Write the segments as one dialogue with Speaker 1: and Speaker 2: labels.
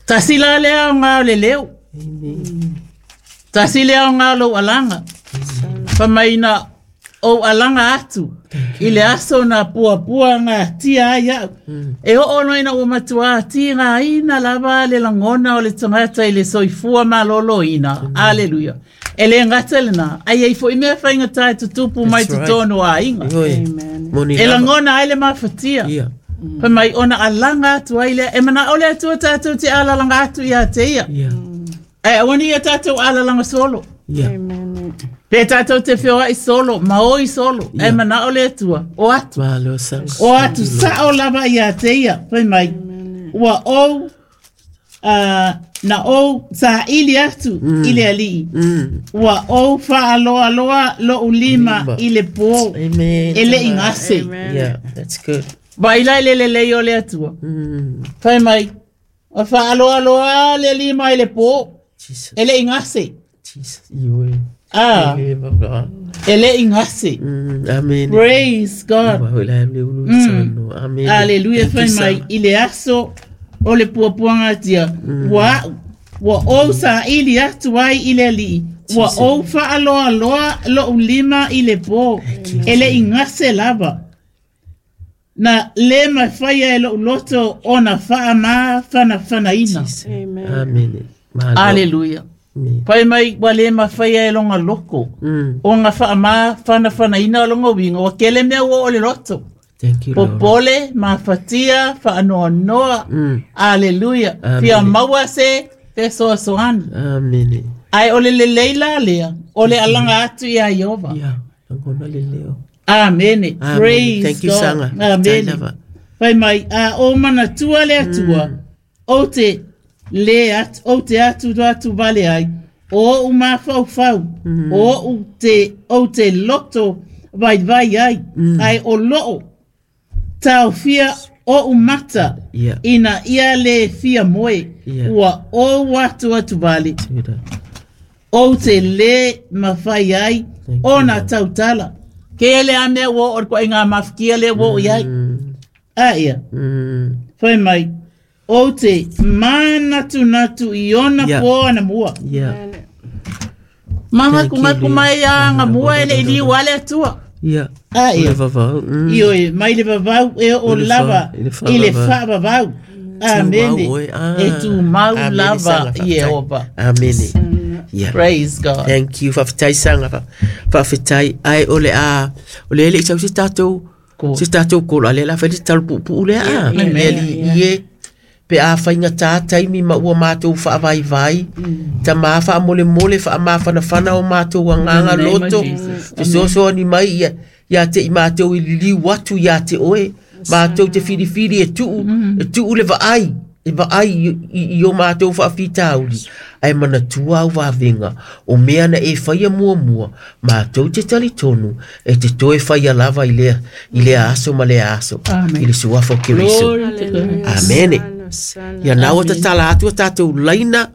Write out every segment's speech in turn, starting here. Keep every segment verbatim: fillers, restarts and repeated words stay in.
Speaker 1: Tasi la le aoga o le leo. Tasi le aoga o lou alaga. Famaina o alaga atu. I le aso na puapua ngā tia ai au. E oo no ina ua matua ti ngā ina lava le langona o le tangata i le soifua malolo ina. Aleluia. E le ngata le na. Ai ai fo i mea whainga tae tutupu mai totonu a inga.
Speaker 2: Amen.
Speaker 1: E langona ai le mafatia.
Speaker 3: Yeah.
Speaker 1: Pa mai ona alanga atu ai lea. E mana ole atu tātou te alalanga atu ia te ia.
Speaker 3: Yeah.
Speaker 1: E awani ia tātou alalanga solo.
Speaker 3: Yeah.
Speaker 2: Amen.
Speaker 1: Pe tātou te whioa i solo, maoi solo.
Speaker 3: Yeah.
Speaker 1: E mana ole atua, o atu.
Speaker 3: Malo sa.
Speaker 1: O atu sao lava ia te ia. Fai mai, ua ou, uh, na ou sa ili atu mm. i le alii.
Speaker 3: Mm.
Speaker 1: Ua ou whaaloa loa lo ulima
Speaker 3: Lima.
Speaker 1: i le pō.
Speaker 3: Amen.
Speaker 1: E le ingase.
Speaker 2: Amen.
Speaker 3: Yeah, that's good.
Speaker 1: Vai lai le le lei o le atua.
Speaker 3: Mm.
Speaker 1: Fai mai, o whaaloa loa le lima i le pō.
Speaker 3: Jesus.
Speaker 1: E le ingase.
Speaker 3: Jesus. Iwe.
Speaker 1: Ah,
Speaker 3: Iwe, baba.
Speaker 1: e le ingase.
Speaker 3: Mm. Amen.
Speaker 1: Praise God.
Speaker 3: Iwa, hoi lai le ulu
Speaker 1: Mm.
Speaker 3: sano. Amen.
Speaker 1: Aleluia,
Speaker 3: Thank you,
Speaker 1: fai mai
Speaker 3: Sarah.
Speaker 1: i le aso o le puapuanga tia. Ua ua ou sa ili atu ai i le alii. Ua ou whaaloa loa lo ulima i le pō. E le ingase lava. Na le mawhaia e lo uloto o na whaama whana whanaina.
Speaker 2: Amen.
Speaker 3: Amen. Malo.
Speaker 1: Aleluia.
Speaker 3: Amen.
Speaker 1: Pai mai ua le mawhaia e longa loko.
Speaker 3: Mm.
Speaker 1: O ngā whaama whana whanaina o longa winga. Wa kele mea ua o le loto.
Speaker 3: Thank you, Lord.
Speaker 1: Popole, mafatia, whaanoanoa.
Speaker 3: Mm.
Speaker 1: Aleluia.
Speaker 3: Amen.
Speaker 1: Fia maua se te soasoani.
Speaker 3: Amen.
Speaker 1: Ai o le leleila lea, o le alanga atu ia Iova.
Speaker 3: Yeah. Langona le leo.
Speaker 1: Amen.
Speaker 3: Amen.
Speaker 1: Praise
Speaker 3: Thank you,
Speaker 1: God.
Speaker 3: Sanga.
Speaker 1: Amen.
Speaker 3: Lava.
Speaker 1: Fai mai, a o manatua le atua, o te le atu, o te atu do atu vale ai, o u mawhauwhau, o u te, o te loto vai vai ai, ai o loo, tau fia o u mata,
Speaker 3: Yeah.
Speaker 1: ina ia le fia moe,
Speaker 3: Yeah.
Speaker 1: ua o atu atu vale,
Speaker 3: Tuda.
Speaker 1: o te le mawhai ai,
Speaker 3: Thank
Speaker 1: o
Speaker 3: you,
Speaker 1: na
Speaker 3: Lord.
Speaker 1: tautala. Ke le a mea wo o koe ngā mawhikia le wo i ai.
Speaker 3: Mm.
Speaker 1: A ia.
Speaker 3: Mm.
Speaker 1: Whai mai, o te mānatu natu i ona
Speaker 3: Yeah.
Speaker 1: pō ana mua.
Speaker 3: Yeah.
Speaker 1: Manga
Speaker 3: Thank
Speaker 1: kunga
Speaker 3: you,
Speaker 1: kumai a ngā mua e le ili wale atua.
Speaker 3: Yeah.
Speaker 1: A
Speaker 3: Le
Speaker 1: ia.
Speaker 3: vavau. Mm.
Speaker 1: I oe, mai le vavau e o
Speaker 3: I le
Speaker 1: lava
Speaker 3: wha- i le wha
Speaker 1: i le
Speaker 3: vavau.
Speaker 1: wha vavau. Amene.
Speaker 3: Tūmau oe. Ah.
Speaker 1: E tū mau
Speaker 3: Amene,
Speaker 1: lava
Speaker 3: Sanga,
Speaker 1: i e
Speaker 3: whafetai.
Speaker 1: opa.
Speaker 3: Amene. Yeah.
Speaker 1: Praise God.
Speaker 3: Thank you. Whawhetai sanga. Whawhetai. Ai o le a. O le ele i sau se tātou.
Speaker 1: Ko.
Speaker 3: Se tātou kolo. Ale la whai te talu pupu le a.
Speaker 1: Yeah,
Speaker 3: Le ali
Speaker 1: yeah.
Speaker 3: i e. Pe a whainga tātai mi ma ua mātou whaawai vai. Ta mā wha mole mole wha mā whana whana o mātou a nganga
Speaker 1: In the name of
Speaker 3: loto.
Speaker 1: Jesus.
Speaker 3: Te soso ni mai ia. Ia te i mātou i liliu atu ia te oe. Mātou te whiriwhiri e tuu. E tuu le vaai. E vaai i, i, i o mātou whaafitauri. Ai mana tua au wawenga. O mea na e whaia mua mua. Mātou te tali tonu. E te toe whaia lava i lea, i lea aso ma lea aso.
Speaker 1: Amen.
Speaker 3: I le suafa o Keriso.
Speaker 1: Glory to God.
Speaker 3: Amene.
Speaker 2: Sana,
Speaker 3: Ia nau o tatala atu a tātou laina,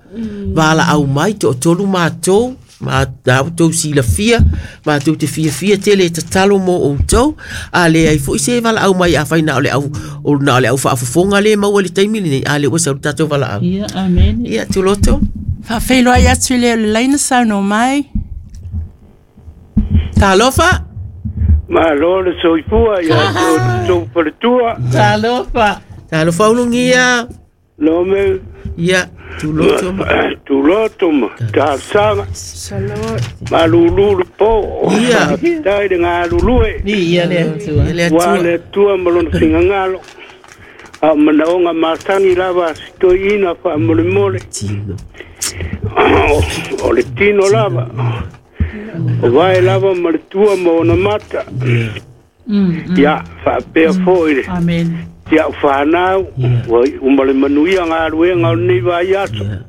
Speaker 3: wāla au mai, to tolu mātou, mā tātou sila fia, mātou te fia fia tele e tatalo mō outou, a le ai fo i se wala au mai a whai na o le au, o na o le au whaafofonga le maua le taimi nei, a le ua sau tātou wala au.
Speaker 1: Ia, amen.
Speaker 3: Ia, tuloto.
Speaker 2: Whawhelo ai atu le o le laina sauno mai.
Speaker 3: Talofa.
Speaker 4: Malo le soifua ia tou faletua.
Speaker 1: Talofa.
Speaker 3: Talofa ulungia.
Speaker 4: No me
Speaker 3: Ia, tuloto ma.
Speaker 4: tuloto ma talosaga.
Speaker 2: Salot.
Speaker 4: Malulu le po.
Speaker 3: Ia.
Speaker 4: Tai le galulue.
Speaker 1: Ia le atua.
Speaker 3: Ia le
Speaker 4: Ua
Speaker 3: atua.
Speaker 4: le atua ma lona figagalo. A o manaoga masani lava a sitoiina faamolemole.
Speaker 3: Tino.
Speaker 4: O le tino lava. O vae lava ma le tua ma ona mata.
Speaker 1: Mm,
Speaker 4: Ia, faapea foʻi le
Speaker 1: Amen.
Speaker 4: tia o whanau, ua uma le manuia ngā ruenga o nei vai aso.
Speaker 3: Ia.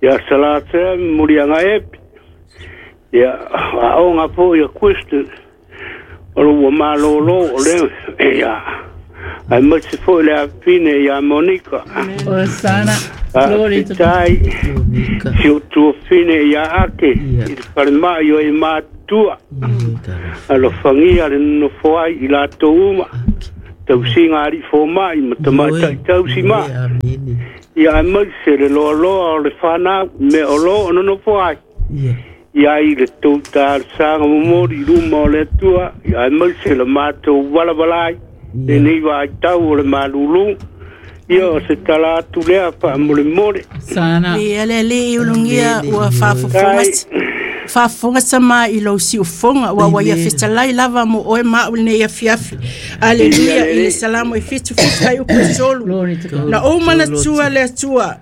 Speaker 4: Ia salatea muri anga epi. Ia a o ngā po ia question. O lo ua malolo o le ia. Ai masi fo le afine ia Monica.
Speaker 1: Osana.
Speaker 4: A
Speaker 1: Glory to God.
Speaker 4: fitai
Speaker 3: Monica.
Speaker 4: si o tuafine ia ake
Speaker 3: Ia.
Speaker 4: i le falemai o e matua.
Speaker 3: Ia, talofa.
Speaker 4: Alofagia le nonofo ai i latou uma. Tausiga a alii fomai ma tamaitai tausi ma'i ia aemaise le loaloa o le fanau mea o loo nonofo ai ia i le tou talosaga momoli i luma o le Atua ia aemaise le matou valavala ai lenei vaitau o le malulu ia o se tala atu lea faamolemole.
Speaker 1: Sana.
Speaker 2: Ia le alii ulugia ua faafofoga faafofoga sama i lou siufoga ua ua ia fetalai lava mo oe ma au lenei afiafi. Aleluia i le Salamo e fitu fitu ai upu e tolu.
Speaker 1: Glory to God.
Speaker 2: Na ou manatua le Atua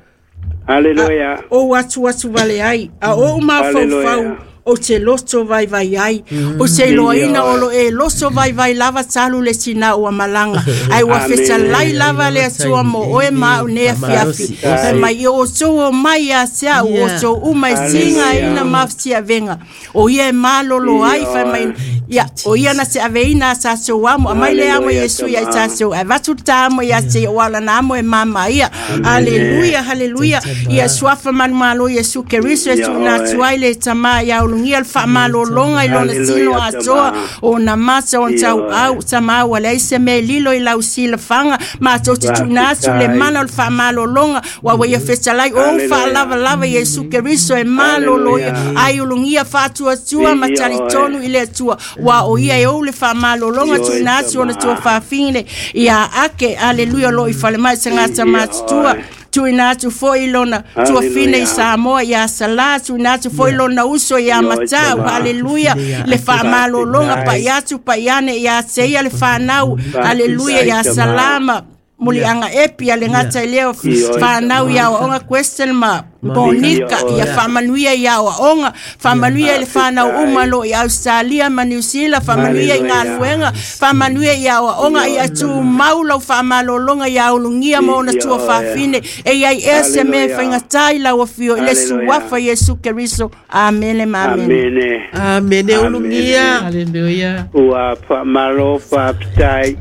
Speaker 4: Aleluia.
Speaker 2: ou atu atu vale ai a ou mafaufau
Speaker 4: Hallelujah.
Speaker 2: o te loto vaivai ai o te iloaina o lo e loto vaivai lava talu le tina ua malaga ai ua
Speaker 4: Amen.
Speaker 2: fetalai lava le Atua mo oe ma au nei afiafi fai mai i outou o mai ia te au outou uma e tigaina ma fetiavega o ia e malolo ai fai mai ia o ia na te aveina a tatou amo amai le amo Iesu ia i tatou e avatu le ta amo ia te o alana amo e mama ia. Haleluia, haleluia. Ia suafa manumalo Iesu Keriso e tuuina atu ai le tamā ia ulugia le faamalologa i lona tino atoa o na mata o na tauau tamā ua leai se mea e lilo i lau silafaga matou te tuuina atu le mana o le faamalologa ua ua ia fetalai ou faalavalava Iesu Keriso e malolo ia ai ulugia faatuatua ma talitonu i le Atua ua o ia e ou le faamalologa tuuina atu ona tua faafine ia ake. Aleluia lo i falemai tagata matutua tuuina atu foi lona tuafine i Samoa ia Salā tuuina atu foi lona uso ia Matau. Aleluia le faamalologa pai atu pai ane ia te ia le fanau. Aleluia ia Salama muliaga epi a le gata i lea fanau ia aoaoga question ma Bonika ia faamanuia ia aoaoga faamanuia i le fanau uma lo i Australia ma New Zealand faamanuia i galuega faamanuia ia aoaoga ia tumau lau faamalologa ia ulugia ma ona tua faafine e iai ea se mea e faigatā i lau afio i le suafa Iesu Keriso. Amene ma amene.
Speaker 4: Amene.
Speaker 3: Amene ulugia.
Speaker 1: Hallelujah.
Speaker 4: Ua faamalo faafetai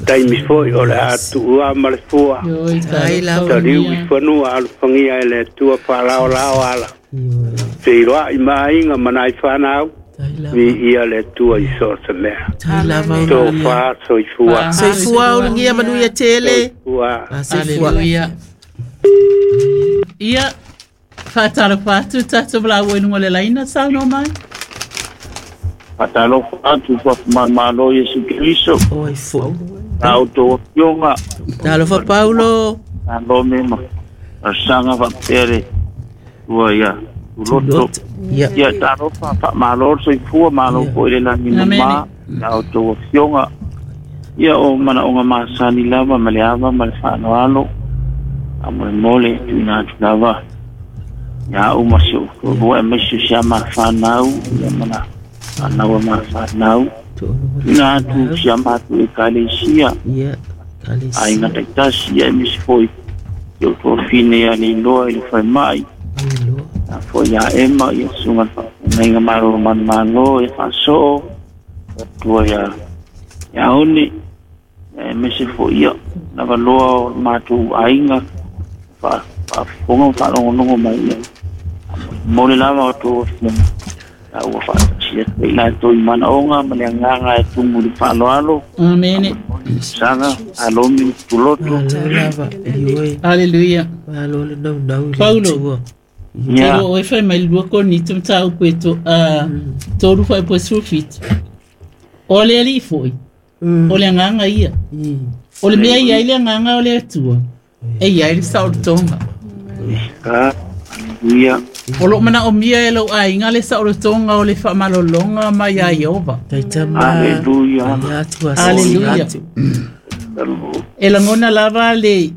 Speaker 4: taimi foi o le atuua ma le fua
Speaker 1: Oi,
Speaker 3: Ai lava.
Speaker 4: taliu i fanua alofagia e le Atua faalaolao ala feiloai ma aiga ma nai fanau viia le Atua i so o se mea
Speaker 3: Tai lava ulugia.
Speaker 4: tofa soifua
Speaker 3: Soifua ulugia manuia tele.
Speaker 4: soifua.
Speaker 3: Ah, soifua.
Speaker 1: Hallelujah. Ia, faatalofa atu tatou valaau ai luga o le laina saunoa mai.
Speaker 5: Faatalofa atu faafumamalo Iesu Keriso
Speaker 3: Oi foi.
Speaker 5: la outou afioga
Speaker 3: Talofa Paulo.
Speaker 5: malo me ma asaga faapea le tua ia tuloto
Speaker 3: Ia.
Speaker 5: ia talofa faamalo le soifua malo foi le lagi mamā la outou afioga ia o manaoga masani lava ma le ava ma le faaloalo amolemole tuuina atu lava ia au ma si ou toalua aemaise o si a mafanau ia mana fanau a mafanau tuuina atu si a matou ekalesia
Speaker 3: Ia. Kalesi.
Speaker 5: aiga taitasi ia aemaise foi i ou toafine ia leiloa i le faimai
Speaker 3: Iloa.
Speaker 5: a foi ia ema ia susuga le faafeagaiga malolo manumalo ia faasoo atua ia ia one ia aemaise foi ia lavaloa o le matou aiga fa- faafofoga ma faalogonogo mai ia mo le lava o tou afioga la ua faatasia atu ai latou i manaoga ma le agaga e tumu i le faaloalo
Speaker 1: Amene.
Speaker 5: saga alomi le tuloto
Speaker 3: Malo lava. Ioe.
Speaker 1: Hallelujah.
Speaker 3: Malo le naunau i le
Speaker 1: Paulo.
Speaker 3: Atua.
Speaker 5: ia
Speaker 1: Te o e fai mai lua koni tu mataupu e to, uh, tolu foi po sulfit. O le alii foi, o le agaga ia. O le mea ia i le agaga o le Atua, e iai le saolotoga.
Speaker 5: ka aleluia
Speaker 1: O loo manaomia e lou aiga le saolotoga o le faamalologa ma iā Ieova.
Speaker 3: Taitama.
Speaker 5: aleluia
Speaker 3: Ai atu a
Speaker 1: Hallelujah.
Speaker 3: atu.
Speaker 1: E lagona lava le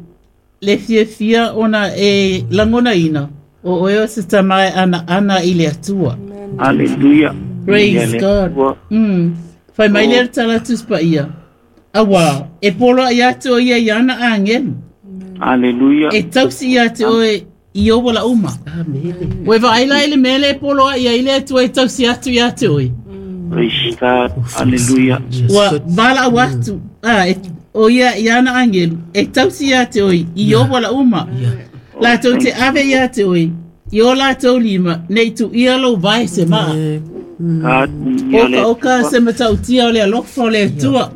Speaker 1: le fiafia ona e lagonaina o oe o se tama e anaana i le Atua.
Speaker 5: aleluia
Speaker 1: Praise
Speaker 5: Ia le
Speaker 1: God.
Speaker 5: Atua.
Speaker 1: Mm. Fai mai le tala tuspa ia. Awa, e polo ai atu o ia i ana agelu.
Speaker 5: aleluia
Speaker 1: E tausi ia te oe i o wala uma.
Speaker 3: Amene.
Speaker 1: Ue vaai la i le mele e polo ai ia i le Atua e tausi atu ia te oe.
Speaker 5: praise God aleluia
Speaker 1: Ua vala au atu. Ah, e, o ia i ana angelu. E tausi ia te oe i o wala uma. Latou te ave ia te oe. I o latou lima, nei tu ia lou vai se maa. Oka oka se matautia o le alofa o le Atua.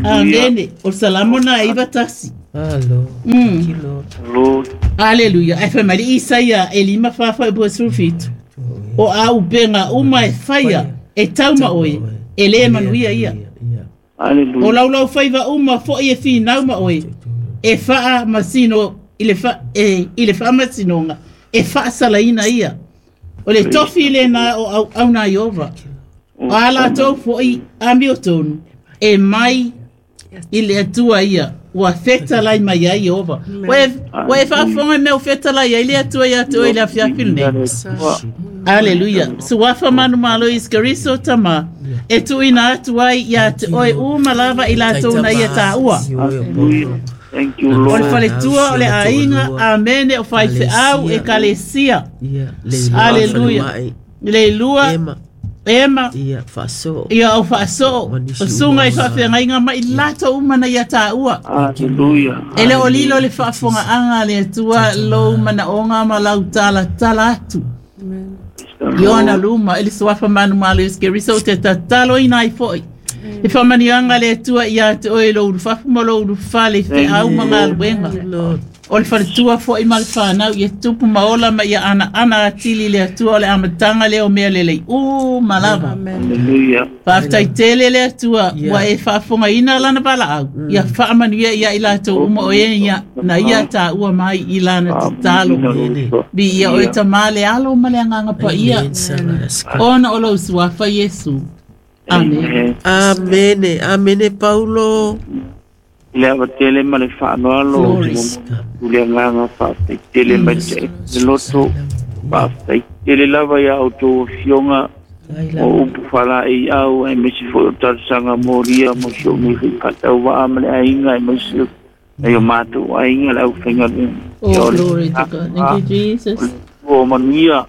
Speaker 1: Amene. O Salamo na iva tasi.
Speaker 3: Alo.
Speaker 1: Mm. Aleluia. Ai fai Isaia e lima fafa e bua sulfito. O au benga uma e faia e tauma oe e le manuia ia.
Speaker 5: Aleluia.
Speaker 1: O laulau faiva uma foi e finau ma oe e faa masino ile fa e ile faa masinonga e faa salaina ia. O le tofi le na o au au na Iova. O ala tau foi amio tonu e mai ile atua ia. Ua feta lai mai ai Iova. Ua e faafonga mea o feta lai ai le atua ia te oe le afiafi lenei. Aleluia. Suafa manu malo iskariso tama. E tuina atu ai ia te oe uma lava i latou na ia tāua.
Speaker 5: Thank you, Lord.
Speaker 1: O le faletua o le aiga, amene o faifeau e kalesia. Aleluia. Le lua. Ema.
Speaker 3: Ia faasoo.
Speaker 1: Ia o faasoo. O sunga i faafeagaiga ma i latou uma na ia tāua.
Speaker 5: Aleluia.
Speaker 1: E le o lilo le faafogaaga le Atua lou manaoga ma lau talatala atu. Iona luma, e le suafa manu malo iskeriso te tatalo ina ai foi. E whamanianga le Atua ia te oe lo ulufafu ma lo ulufale feau ma galuega. O le faletua foi ma le whanau ia tupu maola ma ia ana ana atili le Atua o le amatanga le o mea lelei. U malava.
Speaker 5: Hallelujah.
Speaker 1: Faafetai tele le Atua ua e faafogaina lana valaau. Ia faamanuia ia i latou uma o e ia na ia tāua mai i lana tatalo. Bi ia oe tamā le alo ma le agaga paia. Ona o lou suafa Iesu. Amen.
Speaker 3: Amene. Amene Paulo.
Speaker 5: Le ava tele ma le faanoalo o le agaga faafetai tele mai te loto faafetai tele lava ia outou afioga o upu falaei au aemaise foi o talosaga molia mo si ou nei faatauvaa ma le aiga aemaise ai o matou aiga le aufaigaluega.
Speaker 1: Oh, glory to God. Thank you, Jesus.
Speaker 5: O manuia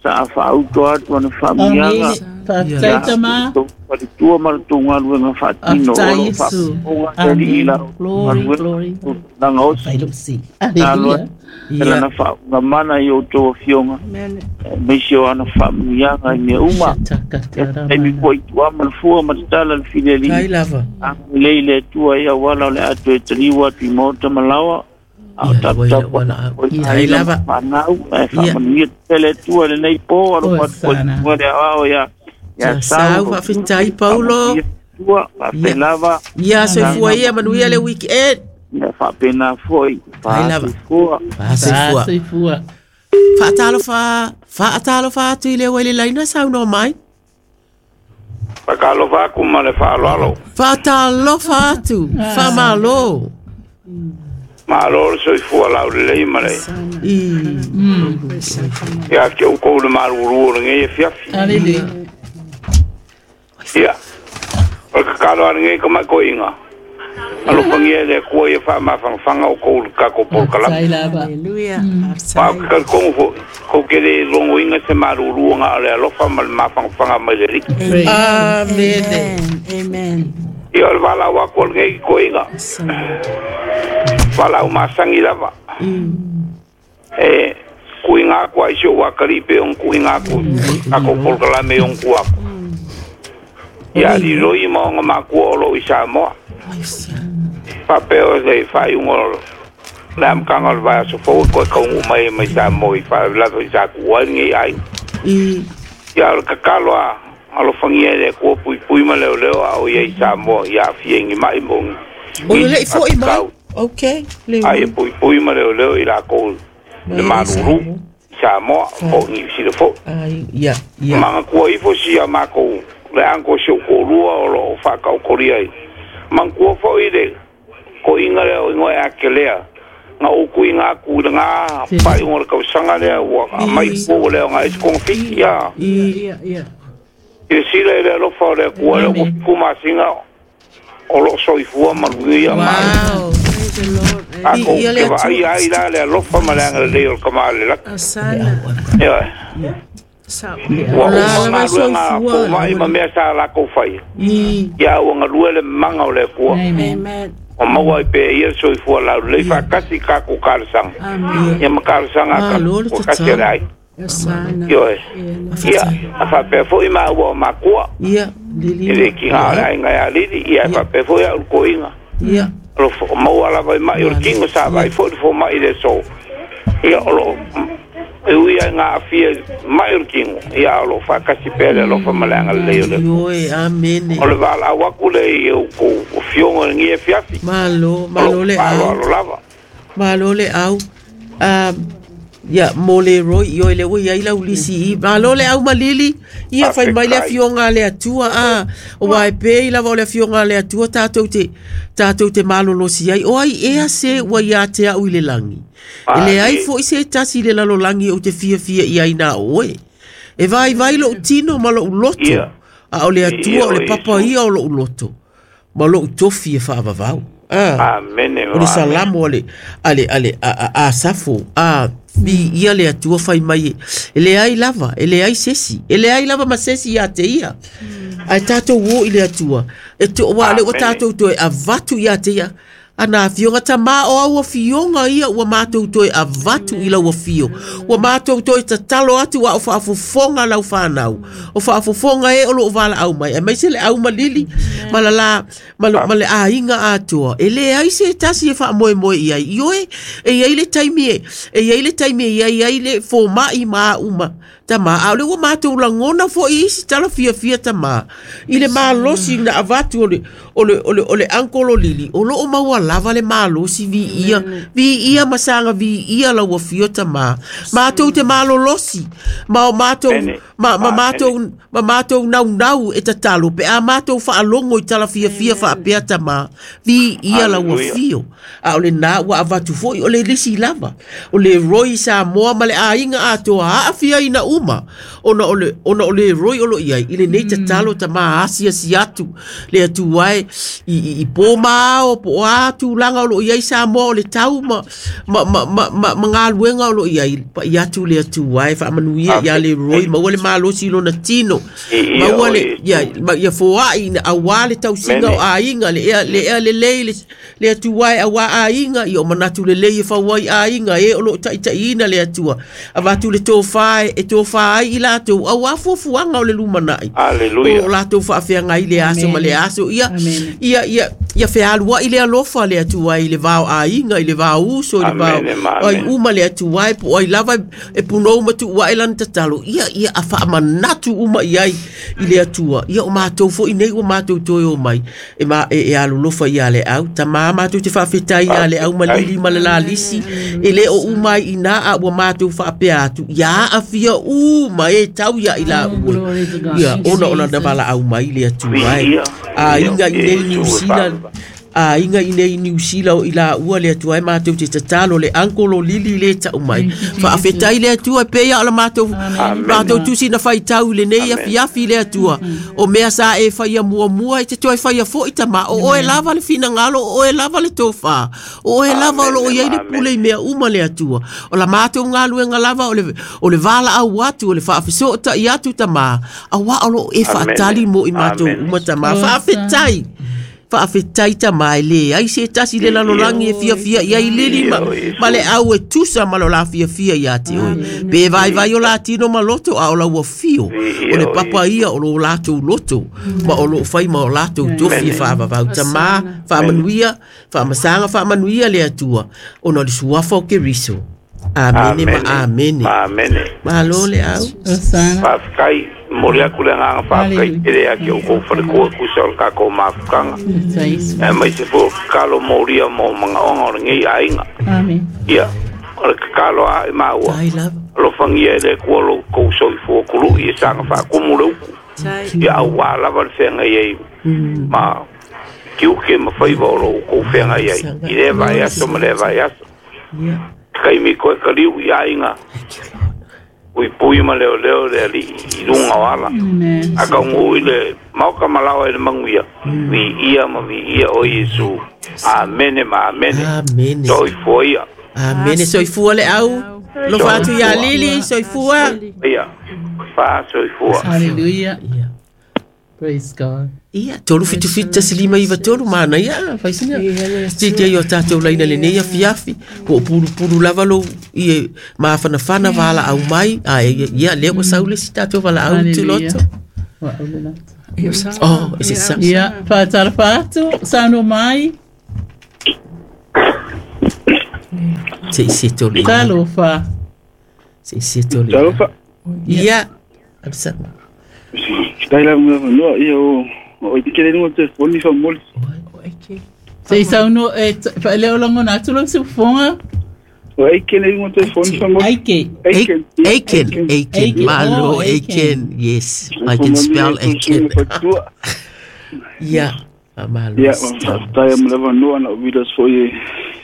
Speaker 5: sa faauto atu ana faamanuiaga.
Speaker 1: Faafetai tama.
Speaker 5: Faletua ma le tou galuega faatino o loo faafofoga alii la
Speaker 1: Glory, glory.
Speaker 5: Lagaosi talo lana faaugamana i outou afioga aemaise o ana faamanuiaga i mea uma. Taimi foi tua ma le fua ma tatala le filelii agalelei le Atua ia auala o le a toe taliu atu i maota ma laoa. Ao taputapu aiga ma fanau ae faamanuia tele Atua lenei po alofa atu foi le aoao ia
Speaker 3: Ia sau faafetai Paulo.
Speaker 5: Tua faafetai lava.
Speaker 3: Ia soifua ia manuia le weekend.
Speaker 5: Ia faapena foi. Faasoifua.
Speaker 3: Faasoifua.
Speaker 1: Faasoifua.
Speaker 3: Faatalofa, faatalofa atu i le oe le laina saunoa mai.
Speaker 4: Faatalofa aku ma le faaaloalo.
Speaker 3: Faatalofa atu, faamalo.
Speaker 4: Malo le soifua laulelei ma le. Ia te outou le malulu o lenei afiafi.
Speaker 1: Aleluia.
Speaker 4: Ia, o le kakalo a lenei ka makoiga. Alofagia le Atua ia faamafagafaga o kou le tatou polokalame.
Speaker 2: Aleluia.
Speaker 4: Ma o ke talitonu foi, kou ke le logoina se maluluga o le alofa ma le mafagafaga mai le Alii.
Speaker 3: Amene.
Speaker 2: Amen.
Speaker 4: Ia o le valaau aku o lenei koiga. Valaau masagi lava. E kuiga aku ai si ou akalii pe ona kuiga aku tatou polokalame i ona tua aku. Ia liloi ma ona makua o loo i Samoa. Faapea o le faaiuga o le amataga o le vaiaso fou e toe taunuu mai mai Samoa i faalavelave i sa tuua ai lenei aiga. Ia o le tatalo a alofagia e le Atua puipui ma leoleo a o ia i Samoa ia aafia i ni mai mo ni
Speaker 3: O le lei foi mai. Okay.
Speaker 4: Ai e puipui ma leoleo i lakou le malulu Samoa po o Niu Sila foi.
Speaker 3: Ia, ia.
Speaker 4: Manatua ifo si a makou le anko si ou toalua o loo faataotolia ai. Manatua foi le koiga lea o igoa e akelea na ou tuiga atu i lagā faaiuga o le tausaga lea ua aumai fua lea ona e se togafiti ia.
Speaker 2: Ia.
Speaker 4: Silasila i le alofa o le Atua lea ua fitu masina o loo soifua manuia ma
Speaker 3: Wow.
Speaker 4: tatou
Speaker 3: Ia le
Speaker 4: te
Speaker 3: Atua.
Speaker 4: vaaia ai la le alofa ma le agalelei o le Tama a le lagi.
Speaker 2: Asana.
Speaker 4: Ioe.
Speaker 2: Sa.
Speaker 4: Ua
Speaker 3: La
Speaker 4: uma
Speaker 3: lava
Speaker 4: galuega
Speaker 3: soifua.
Speaker 4: fomai ma mea sa lakou faia.
Speaker 3: I
Speaker 4: Ia ua galue le maga o le Atua.
Speaker 1: Amen.
Speaker 2: Amen.
Speaker 4: O maua ai pea ia le soifua laulelei faatasi i tatou talosaga.
Speaker 2: Amen.
Speaker 4: Ia ma talosaga a
Speaker 3: Malo le
Speaker 4: tatou kasi a le
Speaker 3: tatalo.
Speaker 4: aiga. Ioe. Ia, a faapea foʻi maua o makua.
Speaker 3: Ia, lili.
Speaker 4: I le kiga o le aiga iā Lili, ia e faapea foʻi a'u le koiga.
Speaker 3: Ia.
Speaker 4: O lo maua lava i maʻi o le tino sa vaai foʻi le fomaʻi le aso. Ia o loo e ui ai gā afia maʻi o le tino, ia o loo faakasi pea le alofa ma le agalelei o le
Speaker 3: Ioe, amene.
Speaker 4: O le valaau aku lea i outou afioga i lenei afiafi.
Speaker 3: Malo, malo le au.
Speaker 4: Aloalo lava.
Speaker 3: Malo le au. Um, ia mo le roi io le ua iai lau lisi i malo le au malili ia fai mai le afioga a le Atua a o uā e pei lava o le afioga a le Atua tatou te tatou te malolosi ai o ai ea se ua iā te a'u i le lagi e leai fo'i se tasi i le lalolagi ou te fiafia i ai na o oe e vaivai lo'u tino ma lo'u loto a o le Atua o le papa ia o lo'u loto ma lo'u tofi e faavavau. Ah,
Speaker 4: Amene.
Speaker 3: O le salamo ale ale ale a a safo a vi ia le Atua fai mai e leai lava e leai sesi e leai lava ma sesi ia te ia ai tatou o i le Atua e to wa le o tatou toe avatu ia te ia ana afioga tamā o au afioga ia ua matou toe avatu i lau afio ua matou toe tatalo atu a o faafofoga lau fanau o faafofoga e o loo valaau mai aemaise le au malili ma lalā ma lo- ma le aiga atoa e leai se tasi e faamoemoe i ai ioe e iai le taimi e e iai le taimi e iai ai le fomaʻi ma aʻu tamā a o le ua matou lagona foʻi isi tala fiafia tamā i le malosi na avatu o le o le o le o le ankolo Lili o loo maua lava le malosi viia viia ma saga viia lau afio tamā matou te malolosi ma o matou ma ma matou ma matou naunau e tatalo pe a matou faalogo i tala fiafia faapea tamā viia lau afio a o lenā ua avatu foʻi o le lisi lava o le Roy Samoa ma le aiga atoa aafiaina uma ona o le ona o le Roy o lo iai i lenei tatalo tamā asiasi atu le Atua e i i, i pō ma ao po o a tulaga o loo iai Samoa o le tau ma ma ma ma, ma, ma galuega o loo iai paʻi atu le Atua e faamanuia ia le Roy maua le malosi lona tino maua le ia ia foaʻi na auā le tausiga o aiga le ea le ea lelei le le Atua e auā aiga ia o manatu lelei e fau ai aiga e o loo taʻitaʻiina le Atua avatu le tofā e tofā ai i latou auā fuafuaga o le lumanaʻi o latou faafeagai le aso ma le aso ia ia ia ia fealuaʻi le alofa le Atua i le vao aiga i le vao uso i le vao ai uma le Atua e po ai lava e punou ma tuuaʻe lana tatalo ia ia a faamanatu uma i ai i le Atua ia o matou foʻi nei ua matou toe o mai e ma e, e alolofa ia le au tamā matou te faafetai ia le au malili ma le lalisi e lē o uma ai inā a ua matou faapea atu ia aafia uma e tau ia i la ua ia ona ona na valaau mai le Atua e aiga i nei Niu Sila aiga i nei Niu Sila o i la ua le Atua e matou te tatalo le ankolo Lili le tau mai faafetai le Atua e pei o la matou matou tusi na faitau i lenei afiafi le Atua o mea sa e faia muamua e te toe faia foʻi tamā o oe lava le finagalo o oe lava le tofā o oe lava o loo iai le pule i mea uma le Atua o la matou galuega lava o le o le valaau atu o le faafesootaʻi atu tamā auā o loo e faatali mo i matou uma tamā faafetai faafetai tamā e leai se tasi le lalolagi e fiafia i ai Lili ma, ma le au e tusa ma lo la fiafia iā te oe pe vaivai o latino ma loto a o lau afio o le papa ia o lo latou loto ma o loo fai ma o latou tofi e faavavau tamā faamanuia faamasaga faamanuia le Atua ona o le suafa o Keriso. Amene ma amene. Malo le au.
Speaker 4: Faafetai momoli atu le agaga faafetai tele ia te outou faletua tusa o le tatou mafutaga aemaise foi o tatalo molia mo magaoga o lenei aiga. Ia o le tatalo a i maua alofagia e le Atua lo outou soifua kuluʻi e saga faakumu le upu ia auā lava le feagai ai ma tiute ma faiva o lo outou feagai ai i lea vaiaso ma lea vaiaso taimi koe kaliu i aiga ui pui ma leo leo le alii i luga o ala a kaugū i le maoka malaoa i le maguia viia ma viia o Iesu. Amene ma amene. Soifua ia.
Speaker 3: Amene. Soifua le au lofa atu iā Lili soifua
Speaker 4: ia fa soifua.
Speaker 1: Hallelujah. Praise God.
Speaker 3: Ia, tolu fitu fitu tasi lima iva tolu mana ia, faisina. Te te o tātou laina le nei afiafi, po puru puru lava lo i e mafanafana vala au mai, a ia lea ua saule si tātou vala au tu loto. Oh, is it sa?
Speaker 1: Ia, whātara atu, sauno mai.
Speaker 3: Se isi tolu.
Speaker 1: Talofa.
Speaker 3: Se isi tolu.
Speaker 6: Talofa.
Speaker 3: Ia, absa.
Speaker 6: Taila mo ia o o ikele no te foni fa moli.
Speaker 1: Se sauno e le olongo na tulo se fonga.
Speaker 6: O ikele no te foni fa moli.
Speaker 1: Aike.
Speaker 3: Aiken. Aiken. Aiken. Malo Aiken. Yes, I can spell Aiken. Yeah. Malo.
Speaker 6: Yeah, taia mo leva no ana vidas foi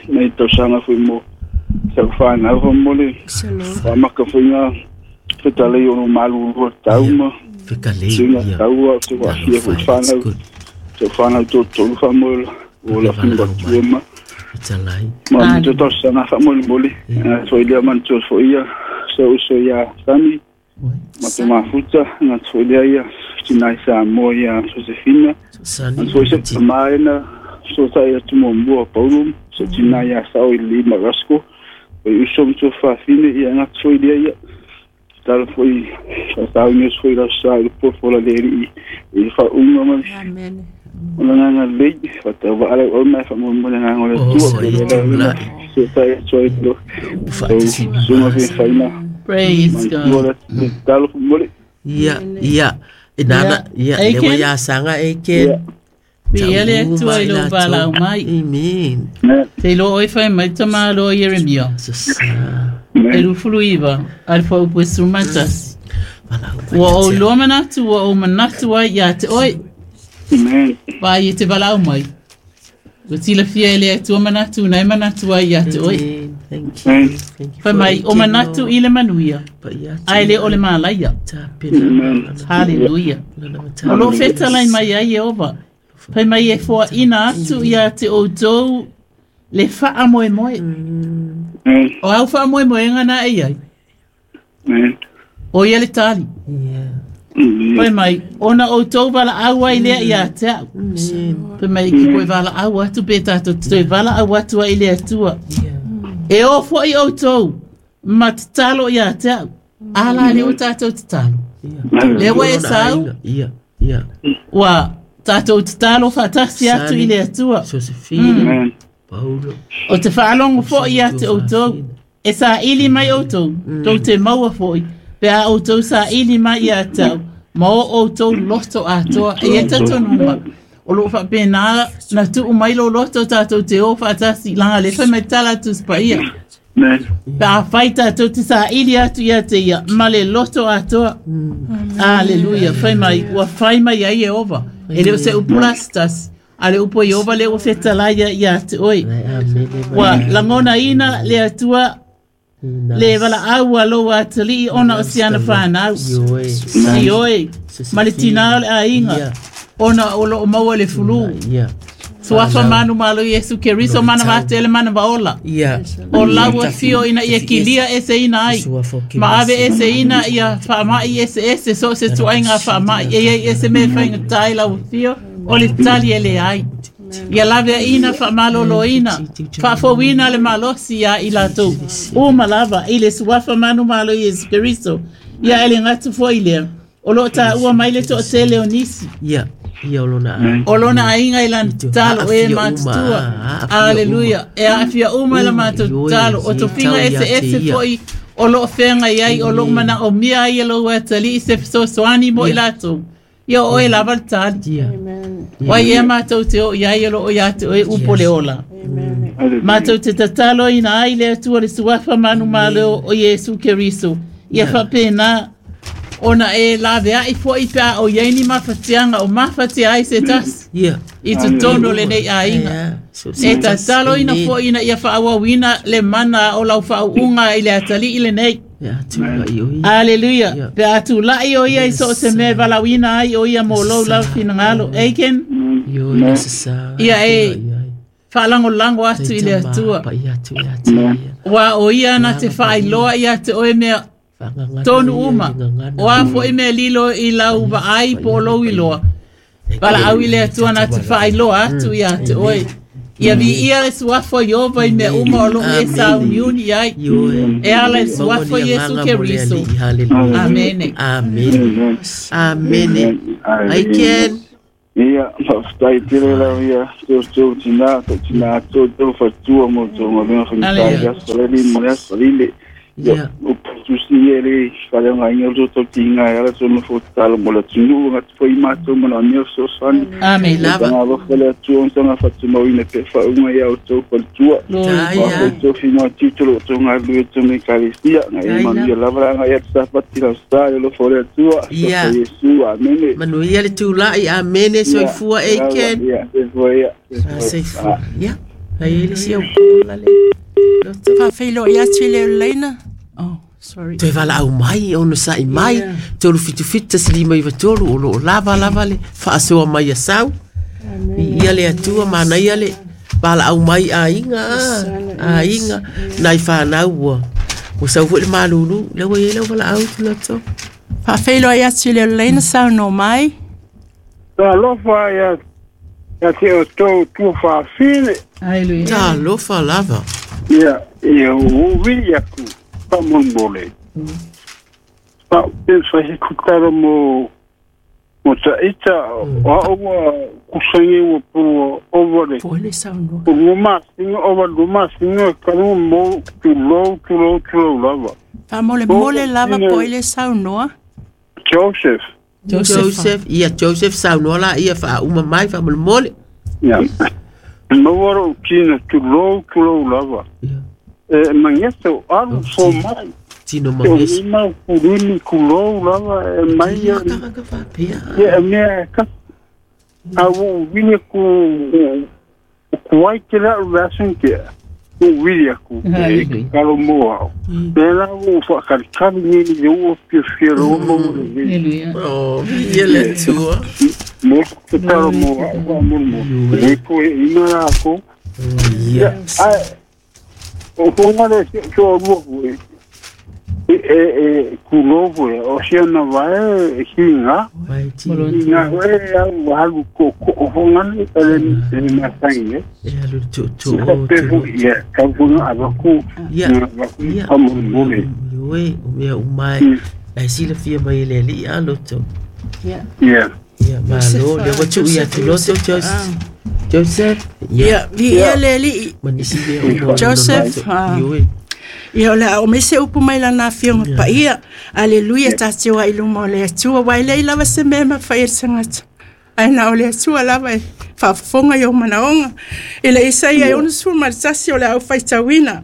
Speaker 6: nei tausaga foi mo sa fa na fa moli. Fa maka foi nga fetalei o malu o tauma.
Speaker 3: Fekalei.
Speaker 6: Singa taua se wa fia foi fana. Se fana to to fa moli o la finga tuema.
Speaker 3: Fetalai.
Speaker 6: Ma to tausaga fa moli moli. So ile man to foi ia so so ia sami. Ma te mafuta na so ile ia tinai sa mo ia Josefina.
Speaker 3: Sani.
Speaker 6: So se maina so sa ia tumo mo Paulo so tinai ia sa o lima rasko. O usom to fa fine ia na so ile ia. Tal foi sa o foi la sa o po fola le i fa uma ma.
Speaker 2: Amen.
Speaker 6: Ona nga le fa ta va ale o ma fa mo mo nga ngole tu so sa ia so ile. So ma fi fa ina.
Speaker 1: Praise God.
Speaker 3: Ia, ia. Nana, ia, lewa ia sanga Aiken.
Speaker 1: Pia le atua i lo valau mai.
Speaker 3: Amen.
Speaker 1: Te lo oi whai mai tamalo Jeremia. E rufulu iwa, alfa upu e sumatasi. Ua o loa manatu, ua o manatu ai ia te oi.
Speaker 6: Amen.
Speaker 1: Vai e te valau mai. Ua tila fia e le atua manatu, nai manatu ai ia te oi.
Speaker 3: Thank you. Thank you.
Speaker 1: Fai mai o manatu i le manuia. Ai le o le malaia. Hallelujah. O lo fetalai mai ai Yehova. Fai mai e foa ina atu ia te outou le whaa moe moe. O au whaa moe moe ngana e ai. O ia le tali. Fai mai ona outou vala au ai lea ia te au. Fai mai ki koe vala au atu pe tātou te vala au atu ai lea atua. E o foi outou, ma te talo ia te au. Ala le o tātou te talo. Lewa e sau.
Speaker 3: Ia, ia.
Speaker 1: Ua tātou te talo whatasi atu i le atua.
Speaker 3: Josefina, Paulo.
Speaker 1: O te whaalongo foi ia te outou. E sa ili mai outou, tau te maua foi. Pe a outou sa ili mai ia te au. Ma o outou loto atoa. E e tatonunga. O lo whapena na tuu mai lo loto tātou te o whatasi langa le whai mai tala atu spaia. Pe a whai tātou te sa ili atu ia te ia, ma le loto atoa. Alleluia, whai mai, ua whai mai ai Yehova. E leo se upula stasi, a le upo Yehova le ua whetalaia ia te oi. Ua langona ina le atua, le wala aua lo atali ona o siana whanau. Ioe, ma le tinao le ainga. Ona o lo maua le fulu. Suafa manu malo Yesu Keriso mana vatele mana vaola. O laua fio ina ia kilia ese ina ai. Ma ave ese ina ia whaamai ese ese so se tuainga whaamai. E e ese me whainga tai lau fio o le tali ele ai. Ia lave ina whaamalolo ina. Whaafowina le malosi ia i latou. O malava i le suafa manu malo Yesu Keriso. Ia ele ngatu fo ilea. O lo ta ua mai le to tele o nisi.
Speaker 3: Ia. Ia olona ai.
Speaker 1: Olona ainga i lan talo e matutua. Alleluia. E afia uma la matu talo. O tofinga ese ese foi o lo whenga iai o lo mana o mia ai lo watali se so soani mo ilato. Ia o e lava le tali. Wai e mātou te o iai lo o ia te oe upo le ola. Mātou te tatalo ina ai le atua le suafa manu malo o Yesu Keriso. Ia whapena ona e lave ai foi pea o iaini mawhatianga o mawhatia ai se tasi.
Speaker 3: Yeah.
Speaker 1: I te tono le nei ainga. E tatalo ina foi ina ia whaawawina le mana o lau whaunga i le atali i le nei. Alleluia. Pe atu lai o ia i so se me valawina ai o ia mo lau lau finangalo. Eiken? Ia e whaalango lango atu i le atua. Wa o ia na te whaailoa ia te oe mea tonu uma. O a fo i mea lilo i lau vaai po lou iloa. Valaau i le Atua na te faailoa atu ia te oe. Ia viia le suafa o Ieova i mea uma o loo e sauniuni ai. E ala i le suafa o Iesu Keriso. Amene.
Speaker 3: Amene. Amene. Ai Ken.
Speaker 6: Ia, faafetai tele lau ia teu tina, tau tina tau tau fatua mo tau ngaluega faigata i aso lele ma le aso lile. Ia, o tusi ia le faleogaiga o tau tiga e ala tonu fotalo mo le atunuu gata foi matou manaomia fesoasoani.
Speaker 1: Amene.
Speaker 6: Taga alofa le Atua ona taga faatumauina pea faauga ia outou faletua. Outou finoa tiute o loo outou galulue tonu Ekalesia. Gae manuia lava le agai atu sapati lausa i le alofa o le Atua.
Speaker 3: Ia.
Speaker 6: Iesu, amene.
Speaker 3: Manuia le tulai, amene, soifua e Ken.
Speaker 6: Ia, soifua ia.
Speaker 3: Soifua. Ia. Ai le sia ukola le.
Speaker 2: Faafeiloai atu i le laina. Oh, sorry.
Speaker 3: Toe valaau mai, ono sa'i mai, tolu fitu fitu tasi lima iva tolu, o loo lava lava le faasoa mai a sau. Ia le Atua manaia le valaau mai aiga, aiga, nai whanau ua. Ua sau foi le malulu, le ua iai lau valaau tuloto.
Speaker 2: Faafeiloai atu i le laina saunoa mai.
Speaker 4: Talofa ia ia te o tau tuafafine.
Speaker 1: Hallelujah.
Speaker 3: Talofa lava.
Speaker 4: Ia, ia uvi aku pamolemole. Pa pensa he kutaro mo mo taita o ua kusangi ua pua ovale.
Speaker 2: Po le saunoa.
Speaker 4: O luma singa ova luma singa kalu mo tulou tulou tulou lava.
Speaker 2: Faamolemole lava po le saunoa.
Speaker 4: Joseph.
Speaker 3: Joseph. Joseph, ia Joseph saunoa la ia faauma mai faamolemole.
Speaker 4: Ia. Maua tina tulou tulou lava. E mangesa o alu fo mai.
Speaker 3: Tino mangesa.
Speaker 4: O lima kulini kulou lava e mai.
Speaker 3: Ia kaka faapea.
Speaker 4: Ia mea ka. A ua vili ku kuai te lau vasen ke. U vili aku. Kalo moa au. Pela ua whakalikali ni le ua fia fia roa mo le vili.
Speaker 3: Oh, ia le Atua.
Speaker 4: Mo te taro moa au wa mo mo. Le ko e ina la ko.
Speaker 3: Ia.
Speaker 4: Ai o fonga le so rua e e e kulovo e o sia na vai e hinga. Hinga e au halu ko ko fonga le le masangi e.
Speaker 3: E alu tu tu
Speaker 4: o tu. Ia ka fonga abaku.
Speaker 3: Ia.
Speaker 4: Abaku amolemole.
Speaker 3: Ioe, o mea umai. Ai sila fia mai le ali a loto.
Speaker 2: Ia.
Speaker 4: Ia.
Speaker 3: Ia malo le wa tu ia tu loto Joseph. Joseph.
Speaker 2: Ia, ia le ali.
Speaker 3: Manisi le o
Speaker 2: Joseph.
Speaker 3: Ioe.
Speaker 2: Ia o le ao mese upu mai lana afioga paia. Aleluia tatou ai luma o le Atua. Ua e lei lava se mea mafai e le tagata. Ae na o le Atua lava e faafofoga i ou manaoga. I le Isaia e ono sefulu ma le tasi o le au faitauina.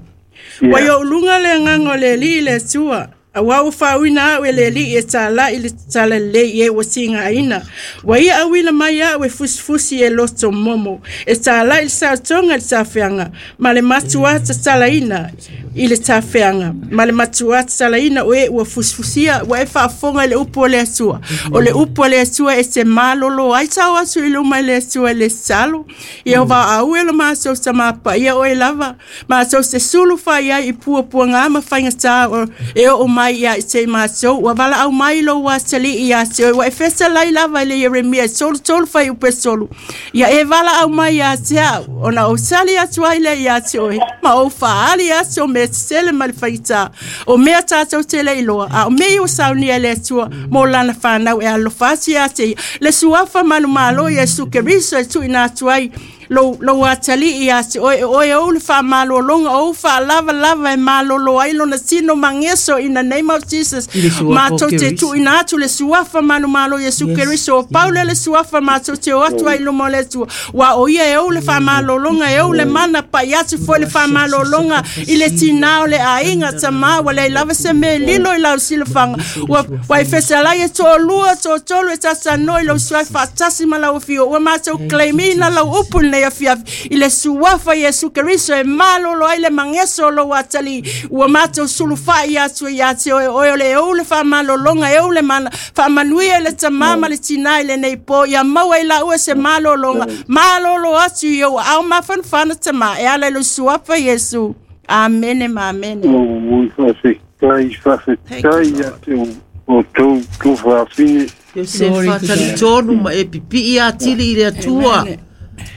Speaker 2: Ua i ou luga le agaga o le Alii i le Atua. Auā ua faauina au e le Alii e tālai le talalelei e ua tigaina. Ua ia auina mai au e fusifusi e loto momo. E tālai le saotoga i le tafeaga ma le matuā tatalaina i le tafeaga. Ma le matuā tatalaina o e ua fusifusia ua e faafofoga i le upu o le Atua. O le upu o le Atua e te malolo ai tau atu i luma i le Atua i le tatalo. Ia o vaau e lo matou tamapaia oe lava. Matou te sulu fai ai i puapuaga ma faigatā o e oo mai ia i te matou. Ua valaau mai lou atalii ia te oe. Ua e fetalai lava i le Ieremia e tolu tolu fai upe tolu. Ia e valaau mai ia te au. Ona ou tali atu ai lea ia te oe. Ma ou faali atu o mea tetele ma le faigata. O mea tatou te le iloa. A o mea ua saunia e le Atua mo lana whanau e alofa atu ia te ia. Le suafa manumalo Iesu Keriso e tuuina atu ai lou lou atalii ia te oe. Oe ou le faamalologa ou faalavalava e malolo ai lona tino mageso in the name of Jesus. Matou te tuuina atu le suafa manumalo Iesu Keriso. O Paule le suafa matou te o atu ai luma o le Atua. Ua o ia e ou le faamalologa e ou le mana pai atu foi le faamalologa i le tinā o le aiga tamā ua leai lava se mea e lilo i lau silafaga. Ua ua e fetalai e toalua toatolu e tatanoa i lou suafa faatasi ma lau afio. Ua matou claimina lau upu lenei afiafi i le suafa Iesu Keriso e malolo ai le mageso o lou atalii. Ua matou sulufai atu ia te oe. Oe o le ou le faamalologa e ou le mana. Faamanuia i le tamā ma le tinā i lenei po. Ia maua i laua se malologa. Malolo atu i ou aao mafanafana tamā e ala i lou suafa Iesu. Amene ma amene.
Speaker 4: O faafetai faafetai ia te o tou tuafafine.
Speaker 3: Iosefa talitonu ma e pipi ia tili i le Atua.